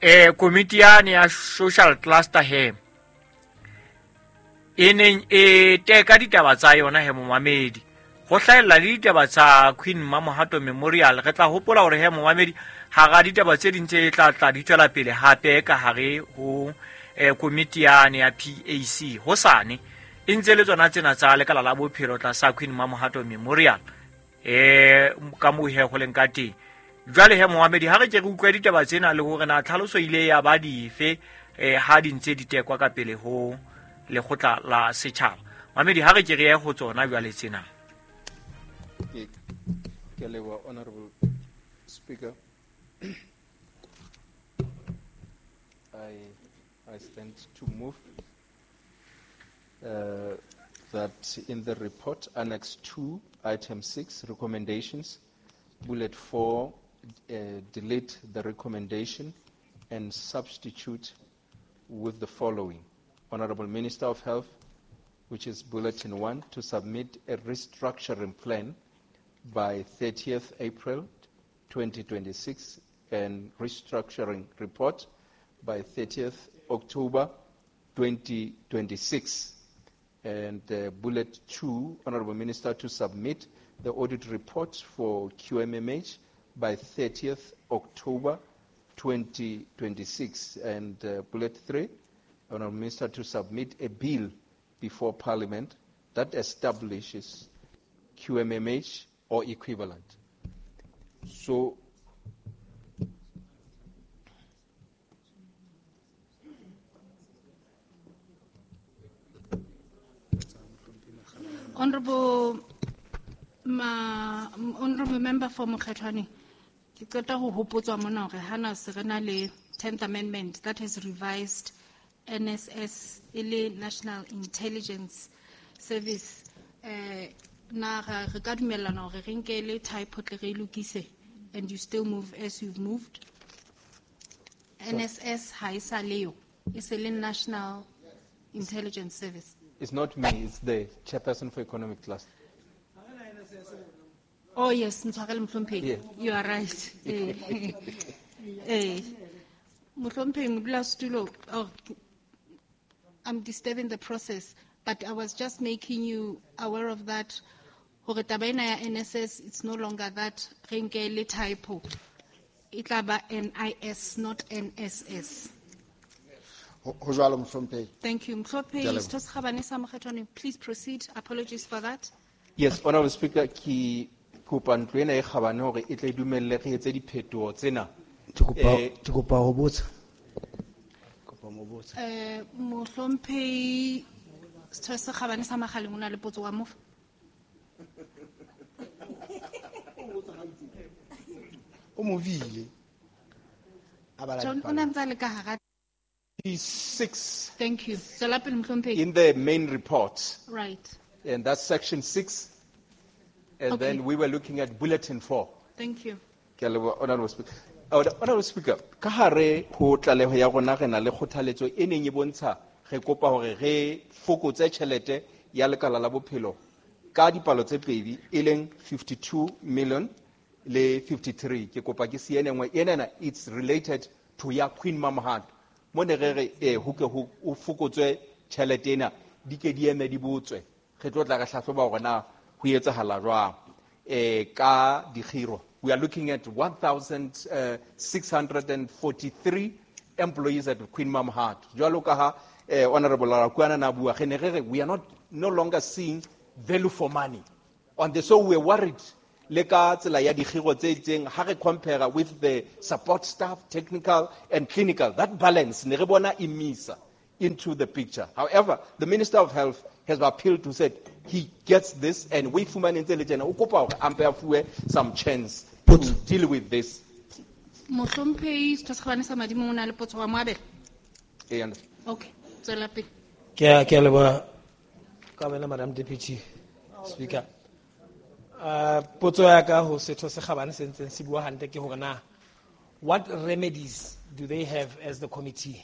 S11: eh komiti yane ya social cluster he e neng e teka ditaba tsa yona he momamedi, ho hlahella le ditaba tsa Queen Mamohato Memorial. Re tla hopola hore he momamedi hara ditaba tse ding tse tla tla di tswela pele hape ka hare ho eh, komiti yane ya P A C hosane e ntse le tsona tsena tsa lekala la bophelo tlasa Queen Mamohato Memorial eh ka moo he ho leng ka teng. Jwale he momamedi ha re ke re utlwe ditaba tsena le hore na tlhaloso ile ya ba dife eh ha di ntse di tekwa ka pele ho lekgotla la setjhaba. Mamedi ha re ke re ye ho tsona jwale tsena.
S16: Ke leboha, Honorable Speaker. I, I stand to move uh, that in the report, Annex two, Item six, recommendations, bullet four, uh, delete the recommendation and substitute with the following. Honorable Minister of Health, which is bulletin one, to submit a restructuring plan by thirtieth April twenty twenty-six and restructuring report by thirtieth October twenty twenty-six. And uh, bullet two, Honorable Minister to submit the audit report for Q M M H by thirtieth October twenty twenty-six. And uh, bullet three, Honorable Minister to submit a bill before Parliament that establishes Q M M H or equivalent. So,
S2: Honorable Ma, Honorable Member for Mokgethwane, ke qeta ho hopotswa mona hore hana se re na le tenth Amendment that has revised N S S e le National Intelligence Service. Eh, na re ka dumellana hore re nke le typo tle re lokise, and you still move as you've moved. N S S ha e sa leo, e se le National Intelligence Service.
S16: It's not me, it's the chairperson for economic cluster.
S2: Oh yes, Ntshwarele Mohlomphehi.
S16: Yeah.
S2: You are right. Eh. Eh. Mohlomphehi Modulasetulo, oh, I'm disturbing the process, but I was just making you aware of that. Hore taba ena ya N S S, it's no longer that re nke le typo. E tla ba N I S, not N S S.
S4: Ho jwalo, Mohlomphehi.
S2: Thank you. Mohlomphehi,
S4: Ke a leboha.
S2: Setho se Kgabane sa Mokgethwane, please proceed. Apologies for that.
S16: Yes, Honorable Speaker, ke kopa ntlo ena e kgabane hore e tle dumelle re etse diphetoho tsena.
S17: Ke kopa,
S16: Eh,
S17: ke kopa ho botsa. Kopa mo botsa.
S2: Eh, Mohlomphehi, Setho se Kgabane sa Makgaleng o na le potso wa mofa.
S5: O mo vile. A bala
S2: John, o
S5: dipalo.
S2: na ntse a le ka hara
S16: Six.
S2: Thank you. Tswela pele, Mohlomphehi.
S16: In the main report.
S2: Right.
S16: And that's section six. And
S2: Okay.
S16: then we were looking at bulletin four.
S2: Thank you.
S16: Ke a leboha, Honorable Speaker. Honorable Speaker, ka hare ho tlaleho ya rona re na le kgothaletso e neng e bontsha re kopa hore re fokotse tjhelete ya lekala la bophelo ka dipalo tse pedi, e leng fifty-two million le fifty-three. Ke kopa ke siye e nngwe. Enana, it's related to ya Queen Mamohato. Mo ne re re, eh, ho ke ho, ho fokotswe tjhelete ena, di ke di eme di botswe. Re tlo tla re hlahloba hore na ho etsahala jwang. Eh, ka dikgiro. We are looking at one thousand six hundred and forty-three employees at Queen Mamohato. Jwalo ka ha, eh, Honorable Rakuana na bua, re ne re re, we are not no longer seeing value for money. On the, so we're worried. Le ka tsela ya dikgiro tse itseng, ha re compare with the support staff, technical and clinical, that balance ne re bona e misa into the picture. However, the Minister of Health has appealed to said he gets this and we fumane ntse le tjena, o kopa hore a mpe a fuwe some chance to deal with this.
S2: Mohlomphehi Setho se Kgabane sa Madimo o na le potso wa moabela.
S16: Ee, and
S2: Okay, tswela pele.
S18: Ke a, ke a leboha ka wena, Madam Deputy Speaker. Uh, potso ya ka ho Setho se Kgabane se ntseng se bua hantle ke hore na what remedies do they have as the committee?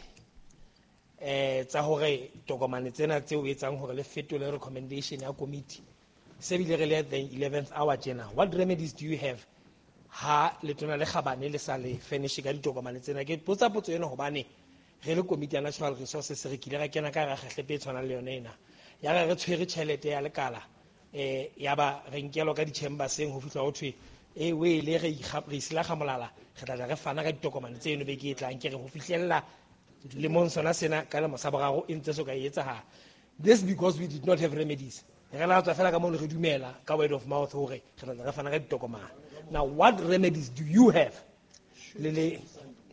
S18: Eh, tsa hore tokomane tsena tseo etsang hore le fetole recommendation ya committee se bile re le at the eleventh hour tjena, what remedies do you have ha letona le Kgabane le sa le furnish ka ditokomane tsena? Ke botsa potso ena hobane re le committee ya natural resources re kile ra kena ka hara kgahlepe e tshwanang le yone ena, ya re re tshwere tjhelete ya lekala, eh, ya ba re nkelwa ka di-chamberseng ho fihla ho thwe, eh, we le re ikga-, re isilaga molala, re tla tla re fana ka ditokomane tseno beke e tlang. Ke re ho fihlella lemong sona sena ka lemo sa boraro e ntse so ka e etsahala. This because we did not have remedies. Re la tswa fela ka mono re dumela ka word of mouth hore re tla tla re fana ka ditokomane. Now what remedies do you have le le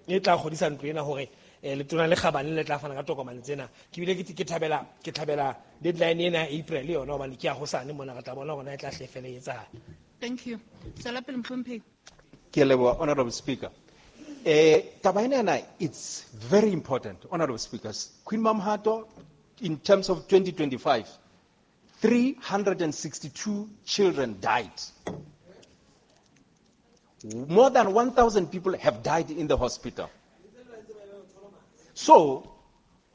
S18: e tla kgodisa ntlo ena hore, eh, letona le Kgabane le tla fana ka tokomane tsena? Ke bile ke, ke thabela, ke thabela deadline ena ya April le yona, hobane ke ya hosane mona re tla bona hore na e tla hle fela e etsahala.
S2: Thank you. Tswela pele, Mohlomphehi.
S16: Ke a leboha, Honorable Speaker. Eh, taba ena, it's very important, Honorable Speakers. Queen Mamohato, in terms of twenty twenty-five, three hundred and sixty-two children died. More than one thousand people have died in the hospital. So,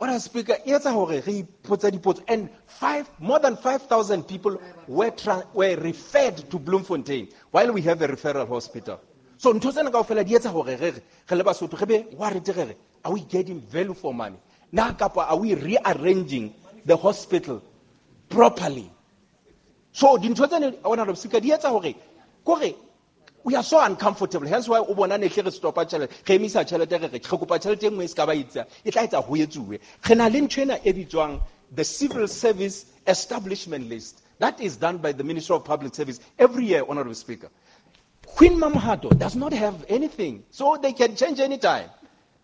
S16: Honorable Speaker, e etsa hore re ipotse dipotso, and five, more than five thousand people were, tra-, were referred to Bloemfontein while we have a referral hospital. So, ntho tsena kaofela di etsa hore re re, re le Basotho, re be worried re re, are we getting value for money? Na kapa are we rearranging the hospital properly? So, dintho tsena, Honorable Speaker, di etsa hore, kore, we are so uncomfortable. Hence why o bona ne hle re stopa tjhelete, re emisa tjhelete, re re, re kopa tjhelete e nngwe e se ka ba itsa, e tla etsa ho etsuwe. Re na le ntho ena e bitswang the Civil Service Establishment List. That is done by the Ministry of Public Service every year, Honorable Speaker. Queen Mamohato does not have anything, so they can change anytime.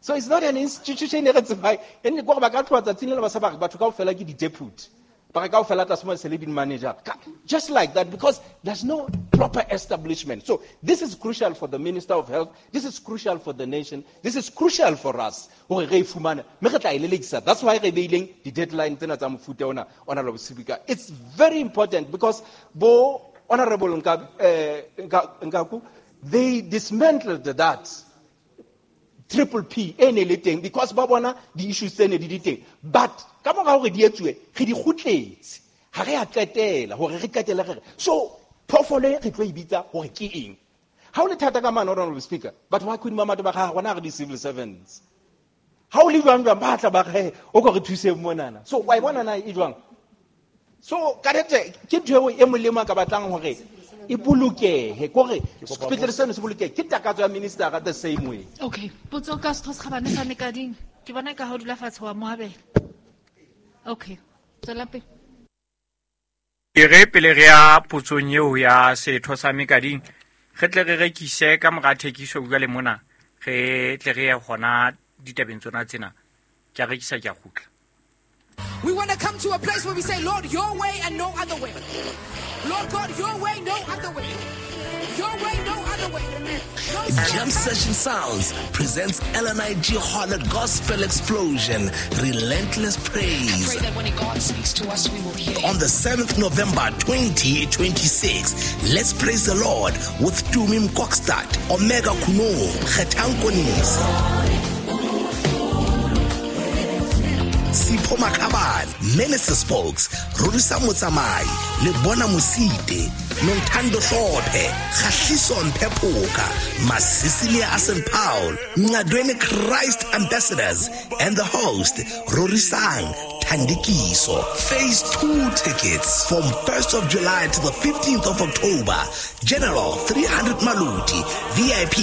S16: So it's not an institution e re tsebang. E ne ke hore ba ka tloha tsatsing le le ba sa ba re batho kaofela ke di-deputy. Ba re kaofela tlase mo se le di-manager. Ka-, just like that, because there's no proper establishment. So this is crucial for the Minister of Health. This is crucial for the nation. This is crucial for us. Hore re e fumane. Mme re tla e lelekisa. That's why re beileng di-deadline tsena tsa mofuta ona, Honorable Speaker. It's very important because bo Honorable Nka, eh, Nka, Nkaku, they dismantled that triple P e ne le teng because ba bona di-issues tse ne di di teng. But ka mora hore di etsuwe, re di kgutletse. Ha re a qetela hore re qetele re re. So phoofolo e re tlo e bitsa hore ke eng? Ha o le thata ka mane, Honorable Speaker, batho ba Queen Mamohato ba re, ha rona re di-civil servants. Ha o le jwang jwang, ba tla ba re, o ko re thuseng monana. So wa e bona na e jwang? So ka nnete ke ntho eo e molemo a ka batlang hore e bolokehe, kore sepetlele seno se bolokehe. Ke takatso ya minister the same way.
S2: Okay, potso ka Setho se Kgabane sa Mekading. Ke bona ka ha o dula fatshe wa moabela. Okay, tswela pele.
S11: E re pele re ya potsong eo ya Setho sa Mekading, re tle re rekise ka mora thekiso jwale mona, re tle re ye hona ditabeng tsona tsena. Ke a rekisa, ke a kgutla.
S19: We want to come to a place where we say, Lord, your way and no other way. Lord God, your way, no other way. Your way, no other way. No
S20: Jam Session Sounds presents L N I G Harlot Gospel Explosion, Relentless Praise.
S19: I pray that when God speaks to us, we will hear.
S20: On the seventh November twenty twenty-six, let's praise the Lord with Tumim Kokstad, Omega Kuno, Khetankonis, Sipho Makhabane, Minister Spokes, Rorisa Motsamai, Lebona Mosite, Nontando Hlophe, Khahliso Mpephoka, Masisilia Asen Paul, Ngadweni Christ Ambassadors, and the host, Rorisang Thandikiso. Phase two tickets from first of July to the fifteenth of October. General three hundred Maluti, V I P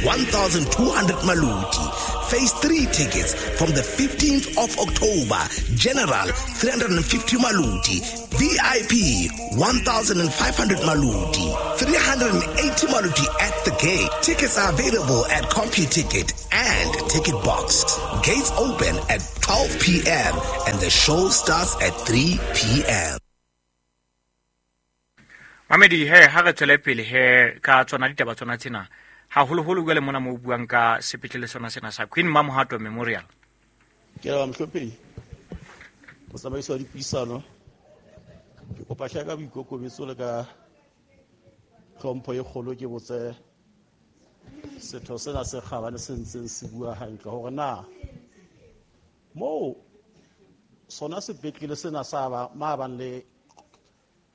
S20: one thousand two hundred Maluti. Phase three tickets from the fifteenth of October. General three hundred fifty Maluti, V I P one thousand five hundred Maluti, three hundred eighty Maluti at the gate. Tickets are available at CompuTicket and Ticket Box. Gates open at twelve p.m. and the show starts at three p.m.
S11: Mamedi he ha re tswele pele he ka tsona ditaba tsona tsena haholoholo jwale mona mo buang ka sepetlele sona sena sa Queen Mamohato Memorial.
S5: Ke a mohlomphehi motsamaisi wa dipuisano, ke kopa hle ka boikokobetso le ka tlhompho e kgolo ke botse setho sena se kgabane se ntseng se bua hantle hore na moo sona sepetlele sena sa ba ma bang le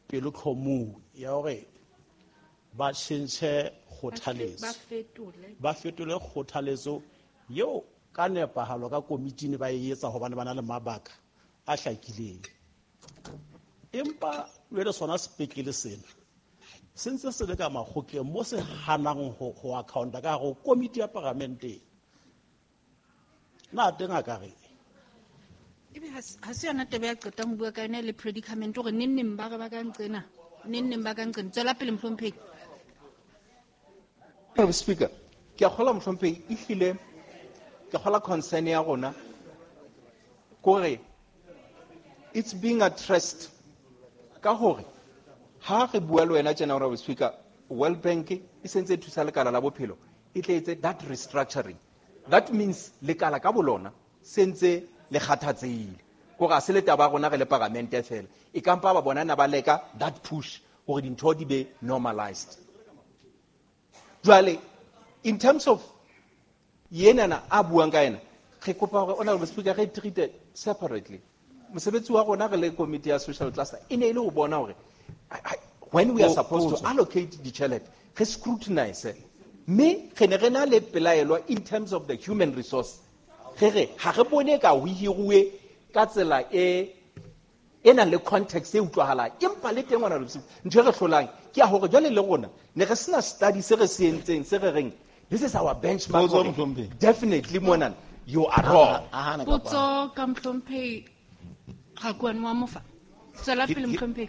S5: pelokgomo ya hore ba tjhentjhe kgothaletso, ba fetole kgothaletso eo ka nepahalo ka komitini ba e etsa hobane ba na le mabaka a hlakileng. Empa jwale sona sepetlele sena se ntse se le ka makgotleng mo se hanang ho ho accounta ka hare ho komiti ya paramente. Na teng a ka re
S2: ebe ha se yona taba ya qetang ho bua ka yona le predicament hore neng neng ba re ba ka nqena, neng neng ba ka nqena. Tswela pele mohlomphehi.
S16: Madam Speaker, ke a kgolwa mohlomphehi ehlile ke kgolwa concern ya rona kore it's being addressed ka hore ha re bua le wena tjena, Honorable Speaker, World Bank e sentse e thusa lekala la bophelo e tle etse that restructuring. That means lekala ka bolona sentse le kgathatsehile kore a se le taba ya rona re le paramente fela, e kampa ba bona na ba leka that push hore dintho di be normalized. Jwale in terms of yenana a buang ka yena, re kopa hore Honorable Speaker re treat separately. Mosebetsi wa rona re le committee ya social cluster e ne e le ho bona hore when we are supposed to allocate ditjhelete re scrutinize, mme re ne re na le pelaelo in terms of the human resource. Re re ha re bone ka ho hiruwe ka tsela e e nang le context e utlwahalang, empa le teng ngwana ntho e re hlolang ke ya hore jwale le rona ne re sena study se re se entseng se re reng this is our benchmark. Definitely mona you are wrong.
S2: Potso ka mohlomphehi Rakuane wa Mofa. Tswela pele mohlomphehi.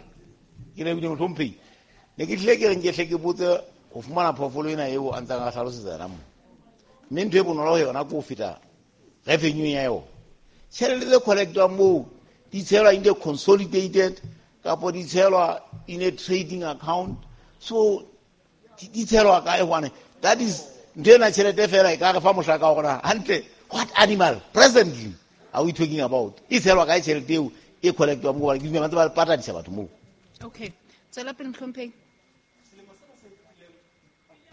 S5: Ke lebile mohlomphehi, ne ke tlile ke reng ke hle ke botse ho fumana phoofolo ena eo a ntsang a hlalosetsa yona mo, mme ntho e bonolo ho yona ke ho feta revenue ya yona. Tjhelete tse collectwang moo di tshelwa in the consolidated kapo di tshelwa in a trading account, so di tshelwa kae hobane that is ntho ena tjhelete fela e ka re fa mohlaka wa rona hantle. What animal presently are we talking about? E tshelwa kae tjhelete eo e collectwang moo? Hobane ke dumela ntse ba patadisa batho moo.
S2: Okay, tswela pele mohlomphehi.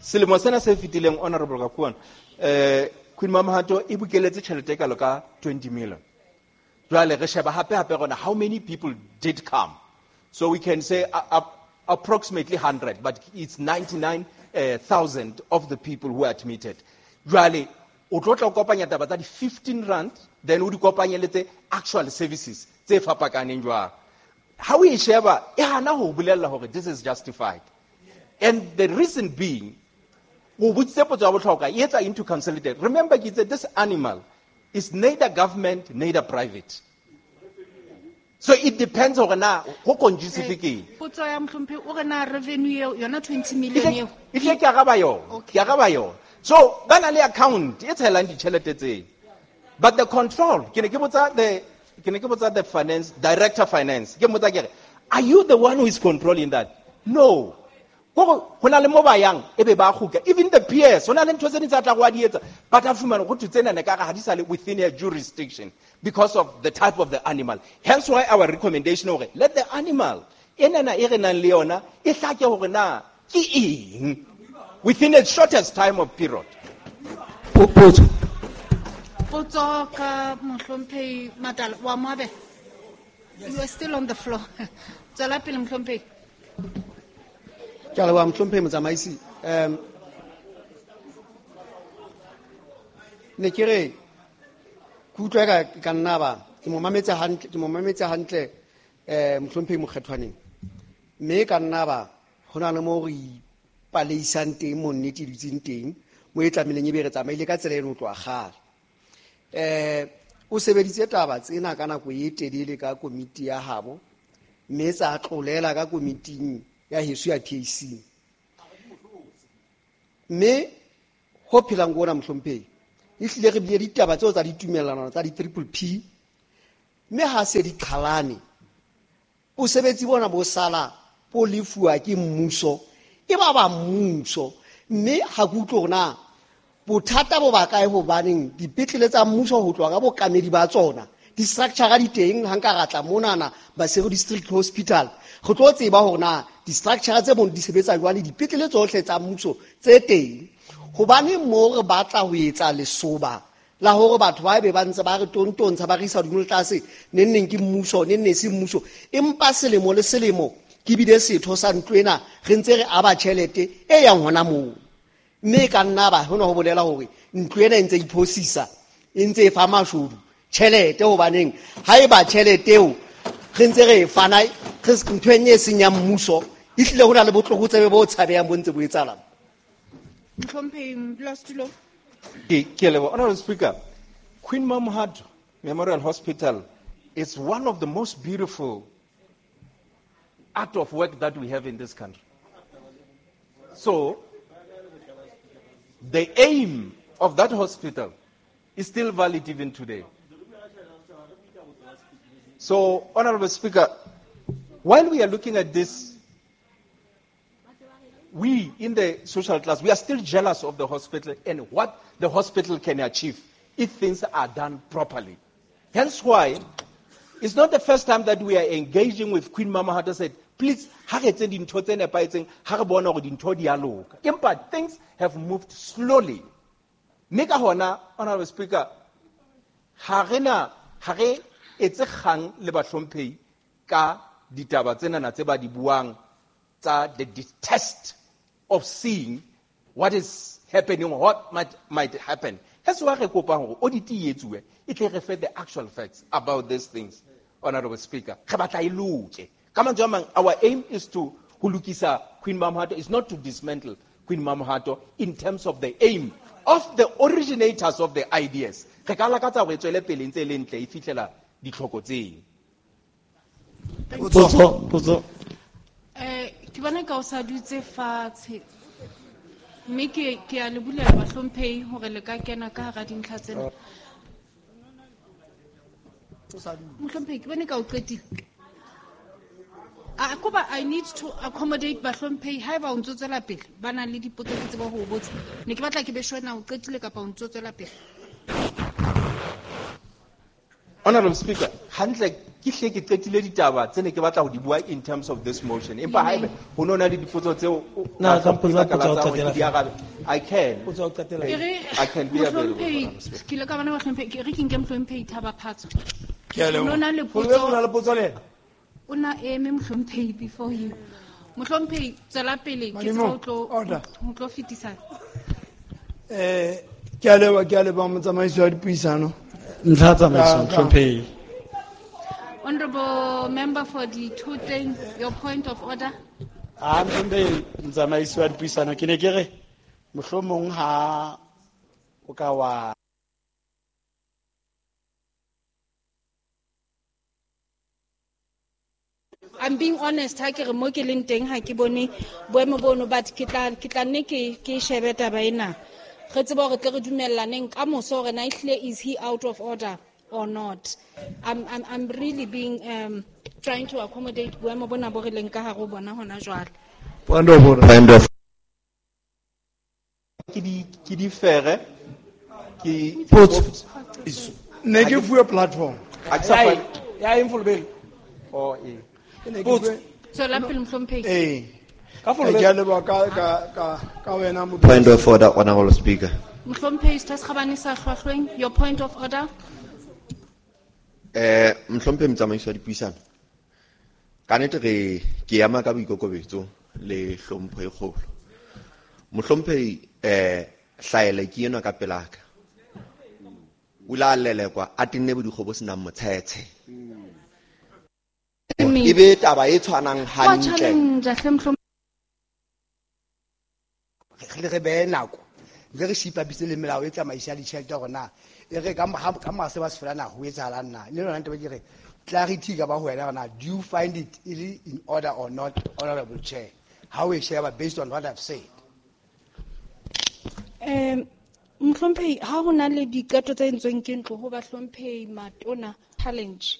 S16: Selemo sena se fetileng, Honorable Rakuane, eh Queen Mamohato e bokeletse tjhelete e kalo ka twenty million. Jwale re sheba hape hape rona how many people did come. So we can say uh, uh, approximately one hundred, but it's ninety-nine thousand of the people who are admitted. Jwale o tlo tla kopanya taba tsa di fifteen rand, then o di kopanye le tse actual services tse fapakaneng jwang. Ha o e sheba e hana ho bolella hore this is justified. And the reason being, o botsitse potso ya bohlokwa e etsa into consolidated. Remember ke itse this animal is neither government neither private. So it depends hore na ho conducive ke eng.
S2: Potso ya mohlomphehi o re na revenue eo yona twenty million eo.
S16: E tle ke araba yona, ke araba yona. So ba na le account e tshelang ditjhelete tseo. But the control, ke ne ke botsa the ke ne ke botsa the finance director finance. Ke mmotsa ke re, are you the one who is controlling that? No. Go na le mo ba yang e be ba kgutla. Even the P S, ho na le ntho tse ding tsa tla go a di etsa, but a fumana ho thwe tsena ne ka re ha di sa le within her jurisdiction because of the type of the animal. Hence why our recommendation hore let the animal enana e re nang le yona e hlake hore na ke eng within the shortest time of period.
S19: Potso.
S2: Potso ka mohlomphehi Matala wa Moabe. You are still on the floor. Tswela pele mohlomphehi.
S17: Ke a leboha mohlomphehi motsamaisi. Um ne ke re ke utlwa ka ka nna ba ke Ke mo mametse hantle, ke mo mametse hantle eh mohlomphehi Mokgethwaneng. Mme ka nna ba ho na le mo re ipaleisang teng mo nnete e dutseng teng, mo e tlamehileng e be re tsamaile ka tsela eno ho tloha kgale. Eh o sebeditse taba tsena ka nako e telele ka komiti ya habo, mme tsa tlolela ka komiting ya heso ya P A C. Mme ho phelang ko ona mohlomphehi, ehlile re bile ditaba tseo tsa ditumellano tsa di-triple P, mme ha se di qhalane, bosebetsi bona bo sala bo lefuwa ke mmuso, e ba ba mmuso. Mme ha ke utlwe hore na bothata bo ba kae, hobaneng dipetlele tsa mmuso ho tloha ka bokamedi ba tsona, di-structure di teng. Ha nka ra tla monana Maseru District Hospital, re tlo tseba hore na di-structure tse mono di sebetsa jwang le dipetlele tsohle tsa mmuso tse teng. Hobane mo re batla ho etsa lesoba la hore batho ba be ba ntse ba re tontontsha, ba re isa hodimo le tlase, neng neng ke mmuso, neng neng se mmuso. Empa selemo le selemo ke bile setho sa ntlo ena, re ntse re aba tjhelete e yang hona moo. Mme e ka nna ba hona ho bolela hore ntlo ena e ntse iphosisa, e ntse e fa mashodu tjhelete, hobaneng ha eba tjhelete eo re ntse re e fana, re s-, ntho e nngwe e seng ya mmuso, ehlile ho na le botlokotsebe bo tshabehang bo ntse bo etsahala.
S2: Mohlomphehi Modulasetulo.
S16: Ke, ke a leboha. Honorable Speaker, Queen Mamohato Memorial Hospital is one of the most beautiful art of work that we have in this country. So, the aim of that hospital is still valid even today. So, Honorable Speaker, while we are looking at this, we in the social class, we are still jealous of the hospital and what the hospital can achieve if things are done properly. Hence why, it's not the first time that we are engaging with Queen Mamohato said, please, ha re etse dintho tse nepahetseng, ha re bona hore dintho di a loka. Empa things have moved slowly. Mme ka hona, Honorable Speaker, ha re na, ha re etse kgang le bahlomphehi ka ditaba tsenana tse ba di buang tsa the detest of seeing what is happening, what might, might happen. That's why re kopang hore audit e etsuwe, e tle re fe the actual facts about these things, Honorable Speaker. Re batla e loke. Ka mantswe a mang, our aim is to ho lokisa Queen Mamohato, is not to dismantle Queen Mamohato in terms of the aim of the originators of the ideas. Re ka lakatsa hore e tswele pele ntse e le ntle, e fihlela ditlhoko tseo.
S8: Potso, potso.
S2: Eh, ke bona ka o sa dutse fatshe. Mme ke, ke a le bulela bahlomphehi hore le ka kena ka hara dintlha tsena. Mohlomphehi, ke bone ka o qetile. A koba, I need to accommodate bahlomphehi haeba o ntso tswela pele, ba nang le dipotso ke tsebe ho o botsa. Ne ke batla ke be sure na o qetile kapa o ntso tswela pele.
S16: Honorable Speaker, hantle ke hle ke qetile ditaba tse ne ke batla ho di bua in terms of this motion. Empa haebe ho no na le dipotso tseo o
S18: Na,
S16: ka
S18: ka mpotsa
S16: mpotsa
S18: potso ya ho
S16: tsa hore
S18: qetela
S16: ke di arabe. I can.
S18: Potso ya ho qetela.
S2: Ke re,
S16: I can be available,
S2: Mohlomphehi,
S16: Honorable Speaker.
S2: ke ile ka bona bahlomphehi, ke re ke nke Mohlomphehi Thaba Phatso.
S15: Ke a leboha.
S2: O no na le
S15: Ho
S2: potso.
S15: na le potso le yena?
S2: O na eme Mohlomphehi before you. Mohlomphehi, tswela pele, ke
S21: Madimo,
S2: tseba ho tlo,
S21: order.
S2: ho tlo fetisa.
S21: Eh, ke a leboha, ke a leboha motsamaisi wa dipuisano.
S8: Ntlha tsamaiso,
S21: Ka- ka-
S8: Mohlomphehi.
S2: Honorable member for the two thing, your point of order.
S8: Ah, Mohlomphehi, motsamaisi wa dipuisano, ke ne ke re mohlomong ha o ka wa
S2: I'm being honest, ha ke re mo ke leng teng ha ke bone boemo bono, but ke tla, ke tla nne ke, ke shebe taba ena. Re tsebe hore tle re dumellaneng ka moso hore na ehlile is he out of order or not. I'm, I'm, I'm really being, um, trying to accommodate boemo bona bo re leng ka hare ho bona hona jwale.
S15: Point of order.
S22: Point of
S16: Ke di, ke di fere, ke
S15: Potso.
S21: Ne ke fuwe platform.
S16: Ha ke sa
S18: Ya
S16: fa-
S18: eng? Ya eng, Folobedi?
S16: Oh, ee.
S21: Ke ne ke
S18: Potso.
S21: fuwe-
S2: Tswela pele, Mohlomphehi.
S21: Ee.
S18: Ka Folobedi.
S21: Ke a leboha ka, ka, ka, ka wena, Modulasetulo.
S22: Point of order, Honorable Speaker.
S2: Mohlomphehi, Setho se Kgabane sa Hlwahlweng, your point of order.
S22: Eh, Mohlomphehi motsamaisi wa dipuisano. Ka nnete re ke ema ka boikokobetso le hlompho e kgolo. Mohlomphehi, eh, hlaela ke enwa ka pelaka. O ile a lelekwa a tenne bodikgo bo senang motshetshe. E be taba e tshwanang
S2: Wa
S22: hantle.
S2: challenge hle mohlomong.
S6: Re re behe nako le re shipapise le melao e tsamaisa ditjhelete hore na e re ka ka mase ba se fela na ho etsahalang na le lona ntaba ke re clarity ka ba ho wena hore na do you find it e in order or not, honorable chair, how we share based on what I've said.
S2: Um mohlomphehi, ha ho na le diqeto tse entsweng ke ntlo ho bahlomphehi matona challenge